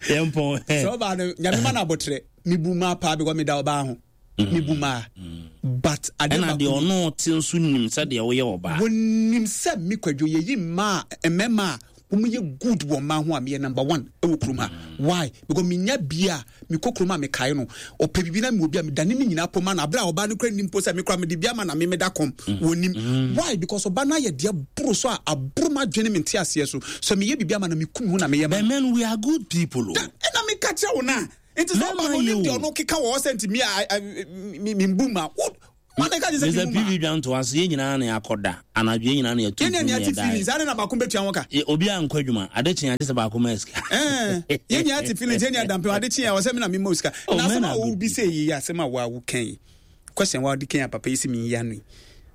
yɛn pɔn. Sɛ ɔbaa no, Nyame ma no abɔtrɛ. Mibu maa paa because mi da ɔbaa ho, mibu maa, but ade ɛna deɛ ɔno te nso nim sɛ deɛ woyɛ ɔbaa. Wɔnim sɛ mi Kwadwo yɛyi mmaa, mmarima a Wɔn yɛ good wɔ mmaa ho a, meyɛ number one ɛwɔ kurom ha. Why? Because menya bia a mekɔ kurom a, mekae no ɔpɛ biribi na mewɔ bi a, medane ne nyinaa pɔ ma no aberɛ a ɔbaa no kora nim po sɛ mekora mede bi ama na memeda kɔm wɔnim. Why? Because ɔba no ayɛ deɛ boro so a aboro ma adwene me nte aseɛ so sɛ meyɛ biribi ama no, mekum ho na meyɛ ma But men, we are good people o. Ɛna meka kyerɛ wo no a, nti sɛ ɔba no Mɛma yɛ onim deɛ o. ɔno keka wɔ hɔ sɛ nti me a membu ma wo wane ka gye sɛ Mister membu ma. P V Dwanto ase, yɛn nyinaa na yɛakɔda anadwo, yɛn nyinaa na yɛto Yɛne dwom ne ate yɛda. feelings ade na baako bɛtua ho ka. Yɛ- obi a nkɔ adwuma ade kye agye sɛ baako ma sika. Ɛɛ, yɛn nyinaa te feelings, yɛn nyinaa dampem ade kye a ɔsɛ me na mema wo sika. Oh, Na asɛm men a are good wobi sɛ yi yɛ asɛm a woawo kan yi, question wa wode kan a papa yi sɛ meyi ano yi,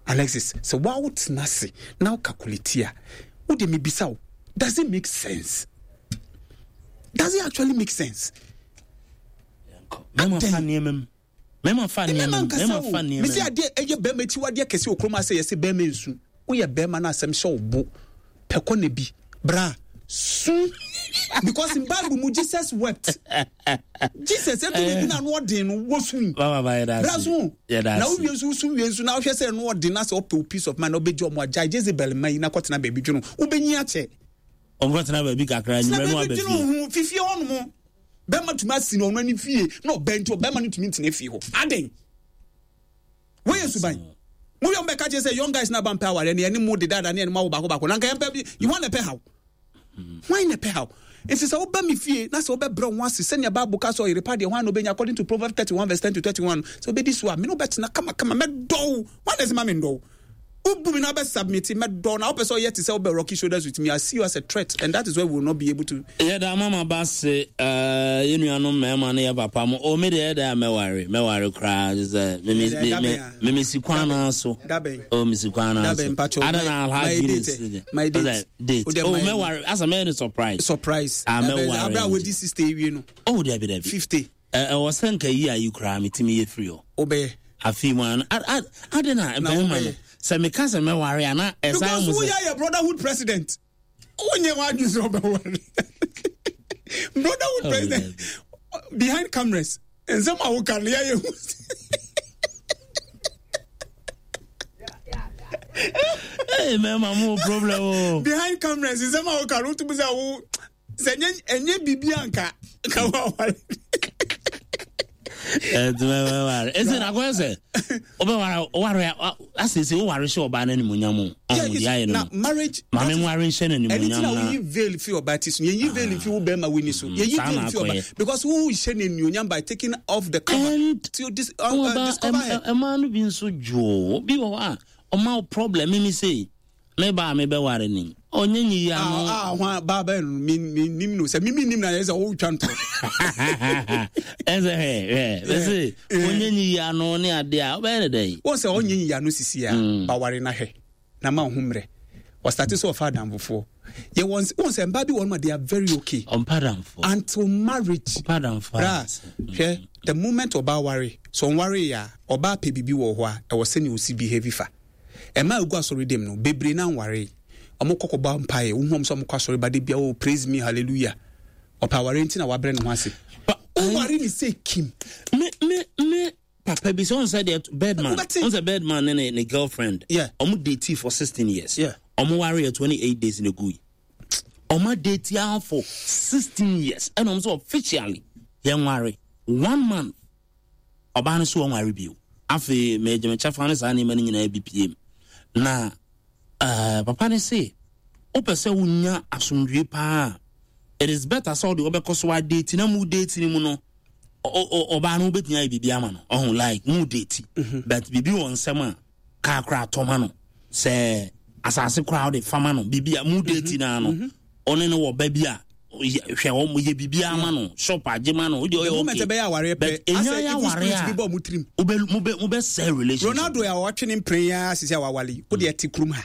Alexis, sɛ woawo tena ase na wo calculate a, wode mebisa wo, does it make sense? Does it actually make sense? Mɛma fa nneɛma mu, mɛma fa nneɛma mɛma mu, nkasa mɛma o fa nneɛma mesi mu. Adeɛ ɛyɛ bɛrima akyiwadeɛ kɛse wɔ kurom asɛ yɛsɛ bɛrima nsu. Woyɛ bɛrima no, asɛm hyɛ wo bo pɛkɔ ne bi bra su, because in Bible mu, Jesus wept. Jesus ɛto ne bi na ano ɔden no wɔsu. Baba ba, yɛda Bra ase. so Yɛda na ase. wowie nso, wosu wie nso na wohwɛ sɛ ɛno ɔden na sɛ ɔpɛ wo peace of mind na wobɛgye ɔmo agyae Jezebel ma yi na kɔtena baabi dwono, wobɛnyi akyɛ. Ɔnkɔtena baabi kakra tena anwummerɛ no baabi aba dwono fie. ho fifie hɔ nom, bɛrima tumi asi no ɔno ani fie na ɔbɛn nti ɔbɛrima no tumi ntena fie hɔ adɛn? Wɔyɛ suban mo yɛ ɔmbɛka kyerɛ sɛ young guys na ba mpɛ awareɛ ne ɛne mo dedada ne ɛne mo awo baako baako na nka yɛmpɛ bi. Hwan na ɛpɛ haw? Hwan na ɛpɛ haw? Nti sɛ woba me fie na sɛ wobɛbrɛ wo ho ase sɛnea Bible ka sɛ ɔyere pa deɛ, hwan na wobɛnya, according to Proverbs thirty-one verse ten to thirty-one, sɛ wobɛdi so a, me ne wobɛtena kamakama, mɛdɔ wo. Hwan na ɛsɛ ma mendɔ wo? Wobu me na wobɛsubmit, mɛdɔ na wopɛ sɛ ɔyɛ te sɛ wobɛ rocky shoulders with me, I see you as a threat, and that is where we will not be able to. Yɛda mama ba se eh, yɛ nuanom mmarima ne yɛ papa mo o. Me deɛ, ɛdɛ a mɛware, mɛware koraa gye sɛ me- me- Ɛdɛ, me- dabɛn me- a? me mesi kwan no so. Dabɛn? O, mesi kwan no so. Dabɛn, mpakyɛw, Ada my- na my Alhaji date, ne my date. Ɔsɛ, date. Wode O, my- mɛware asa, mɛyɛ no surprise. Surprise? Ah, Dabɛn, mɛware aberɛ a nti. wodi sixty awie no? Oh, dabi, dabi. fifty? Ɛ- ɛwɔ sɛ nka yi a yi koraa metumi yɛ firi hɔ. Wobɛyɛ? Afei mu ano ad- ad- ade na Na bɛrima no wobɛyɛ? sɛ meka sɛ mɛware a, na ɛsan Because mu sɛ woyɛ yɛ brotherhood president, wonyɛ w'adwene sɛ wobɛware brotherhood Oh, president behind cameras, nsɛm a woka no yɛyɛ hu. Hey, mɛma mo problem o. Behind cameras, nsɛm a woka no, wotumi sɛ wo sɛ ɛnyɛ ɛnyɛ biribi anka ka woaware. Ɛnti mɛware ɛsɛ na akɔyɛ sɛ wobɛware, woware a, asese woware hyɛ ɔbaa no animonyam o. Ɔho deɛ ayɛ no Na no marriage maame nware nhyɛ no ɛne ti animonyam na na woyi veil fi ɔbaa ti so, yɛyi veil fi wo bɛrima w'ani so, yɛyi saa veil na fi ɔbaa akɔyɛ. because wo hyɛ no anuonyam by taking off the cover And to dis, uh, uh, ɔba discover her. ɛmaa no bi nso dwoo bi wɔ hɔ a ɔma wo problem. Mimi sei, meba a mebɛware ni ɔnyɛ nyiyi ano. Ah, ah, hwan baa bɛn no? Mi mi nim no sɛ mi mi nim na yɛ sɛ wotwa ntoro. Ɛsɛ hwɛ hwɛ bɛsɛ ɔnyɛ nyiyi ano ne adeɛ a wobɛyɛ ne dɛn? Wɔn sɛ ɔnyɛ nyiyi ano sisi a Mm. baware na hwɛ na ma ho mmerɛ ɔstart sɛ ɔfa adamfofoɔ yɛ wɔn wɔn sɛ mbaa bi wɔn ma they are very okay Ɔmpa damfo. until marriage. Ɔmpa damfo. Bra, hwɛ, the moment ɔbaa ware so, ɔnware yɛ a, ɔbaa pɛ biribi wɔ hɔ a ɛwɔ sɛnea osi behave fa ɛma egu asɔre dɛm no bebree na nware, ɔmo kɔkɔ bɔ mpaeɛ, wohu ɔmo sɛ ɔmo kɔ asɔre ba de bia, "Oh, praise me, hallelujah." Ɔpɛ aware nti na wabrɛ ne ho ase. Woware ne sɛ kim. Me me me papa bi sɛ ɔn sɛ deɛ Birdman Wobɛte. ɔn sɛ Birdman ne ne ne girlfriend, Yeah. ɔmo date for sixteen years. Yeah. Ɔmo ware yɛ twenty eight days na egu yi. Ɔmo date ara for sixteen years, ɛna ɔmo sɛ officially yɛn ware one month, ɔbaa no so wɔn ware bio. Afei mɛgye me kyɛfa ne saa nneɛma no nyinaa bi pie mu na ɛɛ papa ne se wopɛ sɛ wonya asomdwie paa, it is better sɛ ɔde ɔbɛkɔ so adate na mu date no mu no, ɔ- ɔ- ɔbaa no wobɛtumi ayɛ biribi ama no, ɔho like mu date, but biribi wɔ nsɛm a kaa koraa tɔma no, sɛ asase koraa wode fama no, biribi a mu date naa no, ɔne no wɔ ba bi a yɛ- hwɛ wɔn yɛ biribi ama no, shop agye ma no, wode The ɔyɛ moment okay. ɛbɛyɛ awareɛ pɛ, But ɛnya asɛ yɛ evil aware spirit bi a bɔ ɔmo tirim. wobɛ mobɛ mobɛsɛe relationship. Ronaldo a watwe ne mpere ya sisi a wawale yi, wode ɛte kurom ha,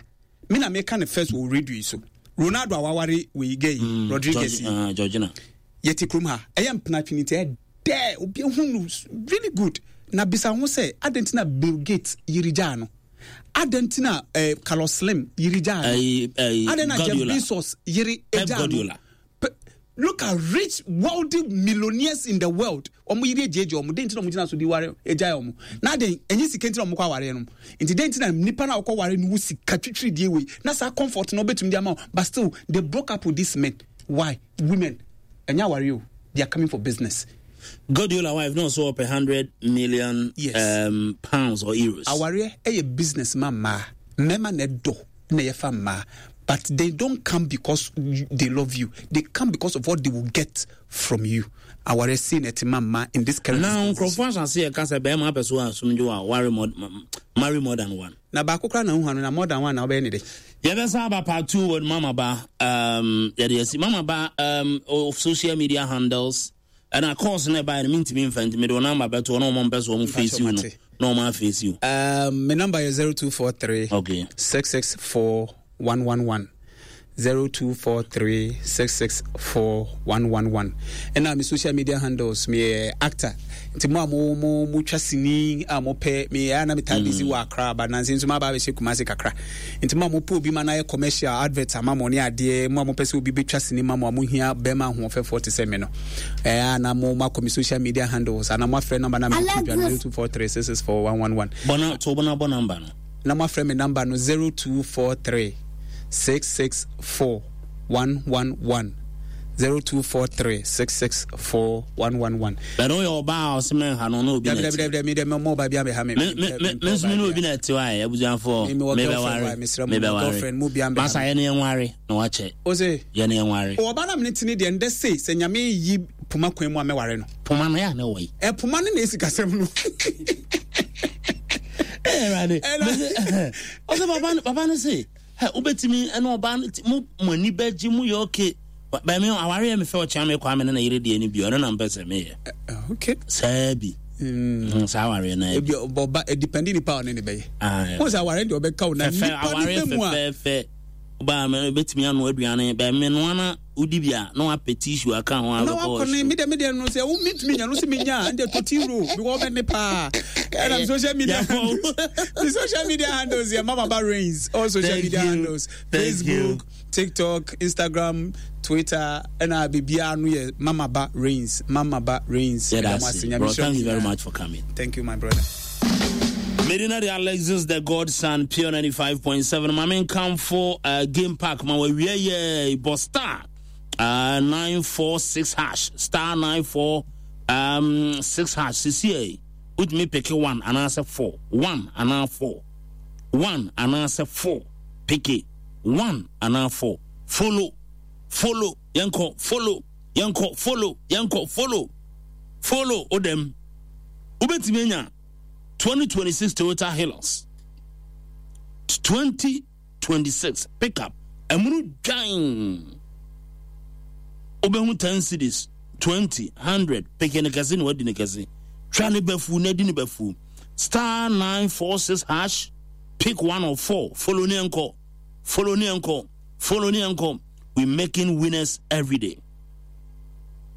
me na meka ne first wɔ radio yi so. Ronaldo a waware wei gay yi, Rodriguez yi, George- uh, Georgina. Yɛte kurom ha, ɛyɛ mpena twene nti ɛdɛ obi ehu no really good. Na bisa ho sɛ adɛn nti na Bill Gates yiri gyaa no? Adɛn nti na eh, Carlos Slim yiri gyaa no? Ɛyi- ɛyi, Adɛn na Jeff Guardiola. Bezos yiri Pep gyaa no? Guardiola. Pe- Look at rich wealthy millionaires in the world. Wɔn yere gyegye wɔn. Den nti na wɔn gyina so di ware egyae wɔn. Na den ɛnyɛ sika nti na wɔn kɔ awareɛ no. Nti den nti na nipa na ɔkɔ ware no wo sika twitwiri die wei. Na saa comfort na ɔbɛtumi de ama wo. But still they broke up with these men. Why? Women. Ɛnyɛ awareɛ o. They are coming for business. Guardiola wife no so ɔpɛ hundred million Yes. um, pounds or euros. Awareɛ ɛyɛ business ma mmaa. Mmarima na ɛdɔ na yɛfa mmaa. But they don't come because they love you. They come because of what they will get from you. Awareɛ sei na ɛte ma mmaa in this current na dispensation. nkurɔfoɔ asase yɛ ka sɛ bɛrima apɛ so asomdwo a ware more, marry more than one. Na baako koraa na wohu ano na more than one na wobɛyɛ ne de. Yɛbɛsa aba part two with Mama Ba. Um, yɛde asi Mama Ba um, of social media handles. Ɛna course no ɛbaeɛ no mentumi mfa nti mede wo number bɛto hɔ na ɔma mpɛ sɛ ɔmo face you no na ɔmo aface you. Um, my number is zero two four three okay. six six four one one one. zero two four three six six four one one one. Ɛna me social media handles me actor. Nti mo a mo mo mo twa sini a mo pɛ me ya na me taa busy wɔ Accra ba nansi nso ma ba abɛhyɛ Kumasi kakra. Nti mo a mo pɛ obi ma na yɛ commercial advert ama mo ne adeɛ mo a mo pɛ sɛ obi bɛtwa sini ma mo a mo hia bɛrima ahoɔfɛfoɔ te sɛ me no. Ɛɛ na mo mo akɔ me social media handles ana mo afrɛ number na me to dwa zero two four three six six four one one one. Bɔna to bɔna bɔ number no. Na mo afrɛ me number no zero two four three six six four one one one zero two four three six six four one one one. Bɛn o yɛ ɔbaa a ɔsɛ mɛ ha no n'obi na ti. Dabi dabi dabi mɛ ɔbaa bi a mɛ ha mɛ. Me me me nso mi n'obi na ti wa yɛ abusuafo. Mi wɔ girlfriend wa mesrɛ mo girlfriend mo bi a mɛ ha. Masa yɛ ne yɛn ware na wakyɛ. O se. Yɛ ne yɛn ware. Ɔbaa na mi ne ti ne deɛ ndɛ se sɛ nyame yi poma kwan mu a mɛ ware no. Poma no yɛ a ne wɔ yi. Ɛ poma no na esi kasɛm no. Ɛwurade. Ɔsɛ papa papa no se. Hɛ wobɛtumi ɛne ɔbaa no mo mo ani bɛgye mo yɛ okay. Bɛmi aware yɛ me fɛ ɔkyea me kwa me ne na yere deɛ no bi ɔno na mpɛ sɛ meyɛ. Okay. Saa bi. Mm. Saa aware na ebi ɔba depending nipa ɔne ne bɛyɛ. Wɔn sɛ aware deɛ ɔbɛka wo na nipa ne bɛ mu a. Fɛfɛ ɔbaa mɛ bɛtumi ano aduane bɛmi no ana wodi bi a na wapɛ tissue aka ho na wakɔ ne mi deɛ mi deɛ no sɛ wo mi tumi nya no sɛ mi nya ɛnde to ti ro because ɔbɛ ne paa ɛna mi social media mi social media handles yɛ Mama Ba Reigns all social Thank media you. handles Thank Facebook you. TikTok Instagram Twitter ɛna biribiara no yɛ Mama Ba Reigns Mama Ba Reigns. Yeah, that's it. Bro, thank you very much for coming. Thank you my brother. Medina de Alexis the Godson Pure ninety-five point seven. My main come for uh, game park. My we yeah boss star uh, nine four six hash star nine four um six hash. C C A. With me pick one and answer four. One and answer four. One and answer four. Pick it. One and answer four. Follow. Follow. Yanko follow. Yanko follow. Yanko follow. Follow odem. Ubetiminya twenty twenty-six Toyota Hilux. twenty twenty-six pickup. Emunu gang. Obehu ten cities. twenty, hundred. Picking a casino, what did you Try ne befu, ne di befu. Star nine four six hash. Pick one or four. Follow ni uncle. Follow ni uncle. Follow ni uncle. We're making winners every day.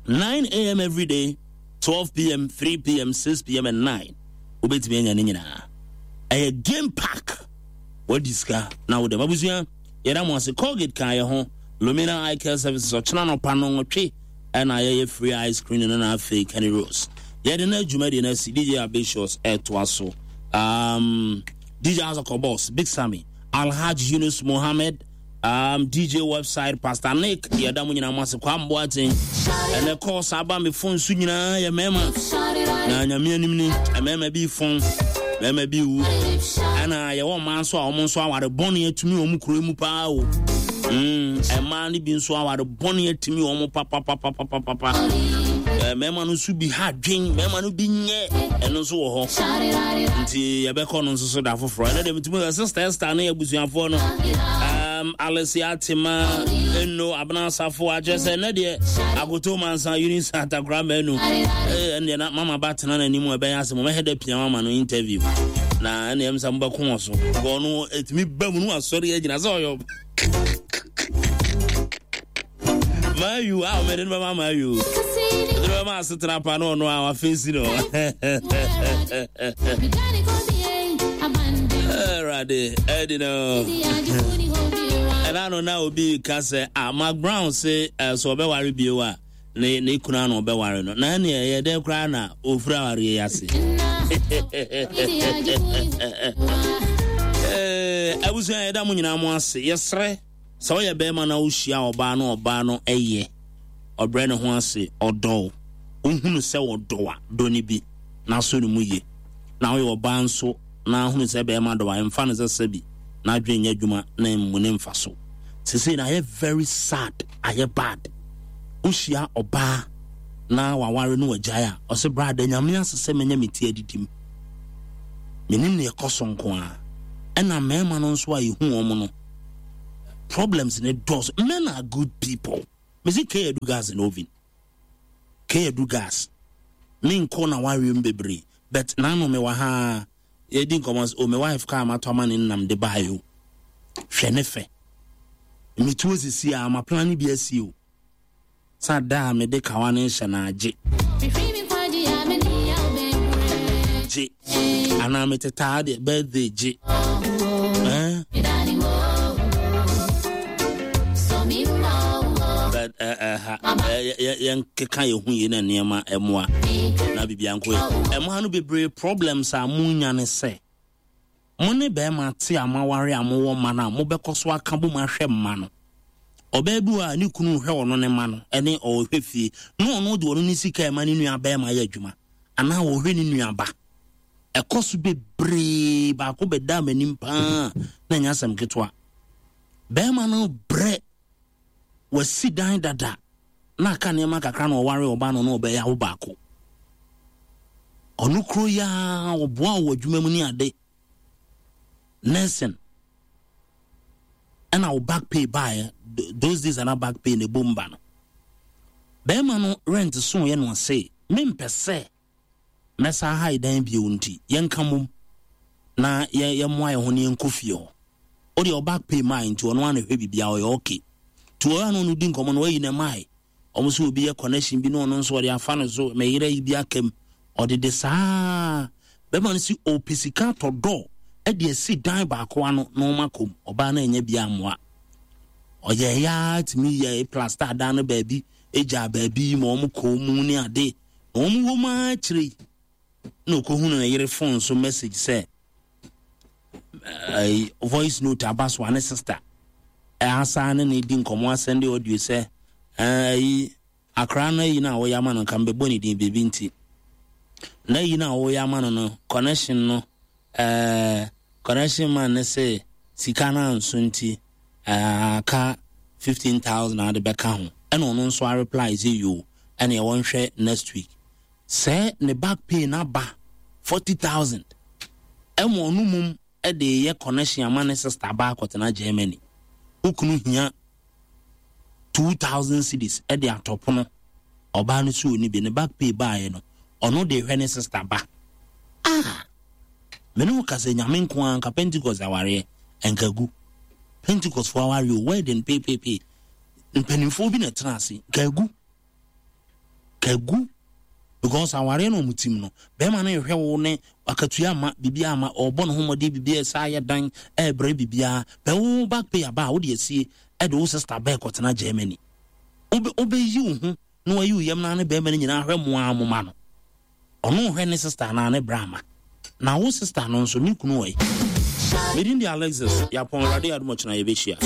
nine a.m. every day, twelve p.m., three p.m., six p.m., and nine. Ubetumi anya ne nyinaa. Ɛyɛ game park. Wadi sika na wo dem abusua. Yɛda mo ase. Colgate kan yɛ ho. Lumina Eye Care Services ɔkyena no pa no nwɔtwe ɛna yɛyɛ free ice cream no na afei Kenny Rose. Yɛde na adwuma de na si D J Ambitious ɛtoa so. Um, D J Azoko Boss, Big Sammy, Alhaji Yunus Mohammed, um, D J website Pastor Nick, yɛda mo nyinaa mo ase kwa mboaten. Ɛnɛ kɔ saa ba me phone so nyinaa yɛ mɛma. Na nyame anim ni mɛma bi phone, mɛma bi wu. Ɛna yɛwɔ mmaa nso a wɔn nso aware bɔne atumi wɔn kuro mu paa o. Mm, mmaa no bi nso aware bɔne atumi wɔn pa pa pa pa pa pa pa. Mɛma no nso bi ha dwen, mɛma no bi nyɛ ɛno nso wɔ hɔ. Nti yɛbɛkɔ no nso so da foforɔ. Ɛnɛ deɛ metumi sɛ sister Esther ne abusuafoɔ no. Um, Alicia Tima, Eno, Abena Safo, akyerɛ sɛ ɛnɛ deɛ Akoto Mansa, Eunice Atakora Manu. Eh, ɛnɛ na Mama Ba tena n'anim a ɛbɛyɛ asɛm. Ɔbɛhɛ dɛ pia mama no interview. Na ɛnɛ ɛm sɛ mobɛko wɔ so. Because ɔno, ɛtumi ba mu no asɔre agyina sɛ ɔyɛ Mayu, ah, mede no bɛma Mayu. Mede no bɛma asetena pa no ɔno a wafeesi no. Alrighty, Eddie no. Ɛna no na obi ka sɛ, ah, Mark Brown se eh, sɛ ɔbɛware bio a, ne ne kunu ano ɔbɛware no. Na ɛne ɛyɛ dɛn koraa na ofura awareɛ yi ase? Eh, abusua, yɛda mo nyinaa mo ase. Yɛsrɛ sɛ woyɛ bɛrima na wohyia ɔbaa no, ɔbaa no ɛyɛ ɔbrɛ ne ho ase, ɔdɔ wo, wohunu sɛ ɔdɔ a, dɔ no bi na so ne mu ye. Na woyɛ ɔbaa nso na ahunu sɛ bɛrima dɔ a, ɛmfa no sɛ sɛbi na adwene nyɛ adwuma na mmu ne mfa so. Sesei na ayɛ very sad, ayɛ bad. Wohyia ɔbaa na waware no wagyae a, ɔsɛ bra da Nyame ase sɛ manya me ti adidim. Menim ne ɛkɔ so nko a. Ɛna mmarima no nso a yɛhu wɔn no, problems ne dɔɔso. Men are good people. Mesi K adu gas in oven. K adu gas. Menkɔ na wareɛ mu bebree. But naano mewɔ ha, yɛdi nkɔmmɔ sɛ, oh, me wife kaa matɔ ama ne nam de baeɛ o. Hwɛ ne fɛ. Metuo sisi a, ma plan bi asi o. Sa da a mede kawa no hyɛ no agye. Gye. Anaa metetaa deɛ birthday gye. Eh? But eh, eh, ha, eh, yɛnkeka yɛ ho yie na nneɛma ɛmoa na biribia nkɔ yɛ. Ɛmoa no bebree problems a monya ne sɛ mo ne bɛrima te a moaware a mowɔ mma no a, mobɛkɔ so aka bom ahwɛ mma no. Ɔbaa bi wɔ a ne kunu hwɛ ɔno ne mma no ɛne ɔhwɛ fie na ɔno de ɔno ne sika ɛma ne nua bɛrima yɛ adwuma anaa ɔhwɛ ne nua ba. Ɛkɔ so bebree. Baako bɛda m'anim paa na ɛnyɛ asɛm ketewa. Bɛrima no brɛ, wasi dan dada na aka nneɛma kakra na ɔware ɔbaa no na ɔbɛyɛ awo baako. Ɔno kuro yi ara ɔboa wɔ adwuma mu ne ade, nursing, ɛna wo back pay baeɛ. Those days ana back pay na ɛbom ba no, bɛrima no rent so yɛ no ɔse mempɛ sɛ mɛsa ha dan bio, nti yɛnka mom na yɛmmoa yɛn ho ne yɛnkɔ fie hɔ. Wode ɔ back pay maa, nti ɔno ana hwɛ biribiaa, ɔyɛ okay. Nti ɔyɛ no no di nkɔmmɔ no wayi ne mae. Ɔmo sɛ obi yɛ connection bi na ɔno nso ɔde afa no so mɛyerɛ yi bi akam ɔde de saa. Bɛrima no si ɔpɛ sika atɔ dɔ ɛde asi dan baako ano na ɔma kɔm. Ɔbaa no anya bi amoa, ɔyɛ ya tumi yɛ plaster dan no baabi, egya baabi ma ɔmo kɔn mu ne ade na ɔmo wɔ mu akyire na ɔkɔhunu ne yere phone so message sɛ ɛɛ voice note aba so a ne sister ɛasa ne ne di nkɔmɔ, asɛnde audio sɛ ɛɛ akora no ayi no a wɔyɛ ama no, nka mbɛbɔ ne din biribi nti na ayi no a wɔyɛ ama no no connection no, ɛɛ connection man ne sɛ sika no anso nti ɛɛ aka fifteen thousand ade bɛka ho. Ɛna ɔno nso a reply sɛ yo, ɛna ɛwɔ nhwɛ next week sɛ ne back pay n'aba forty thousand. Ɛma ɔno mum ɛde yɛ connection ama ne sister ba akɔtena Germany. Okunu hia two thousand cedis ɛde atɔ pono, ɔbaa no so oni bi. Ne back pay baayɛ no, ɔno de hwɛ ne sister ba. Ah, mene wo kasa, Nyame nko ara. Nka Pentecost awareɛ nka gu. Pentecost fo awareɛ o, wedding pepepe, mpanimfoɔ bi na ɛtena ase, nka gu, ka gu, because awareɛ no ɔmo tim no, bɛrima no ehwɛ wo ne akatua ama biribi ama ɔbɔ ne ho mmɔden, biribi ɛsɛ ayɛ dan ɛɛbrɛ biribiara bɛ wo back pay aba a wode asie ɛde wo sister bɛɛ kɔtena Germany. Wobe wobɛyi wo ho na wayi wo yam na ne bɛrima no nyinaa hwɛ mo a mo ma no, ɔno hwɛ ne sister anaa ne bra ama na wo sister no nso ne kunu wɔ yi. Medin de Alexis Yɛapɔn. Awurade adom, ɔkyena yɛbɛhyia.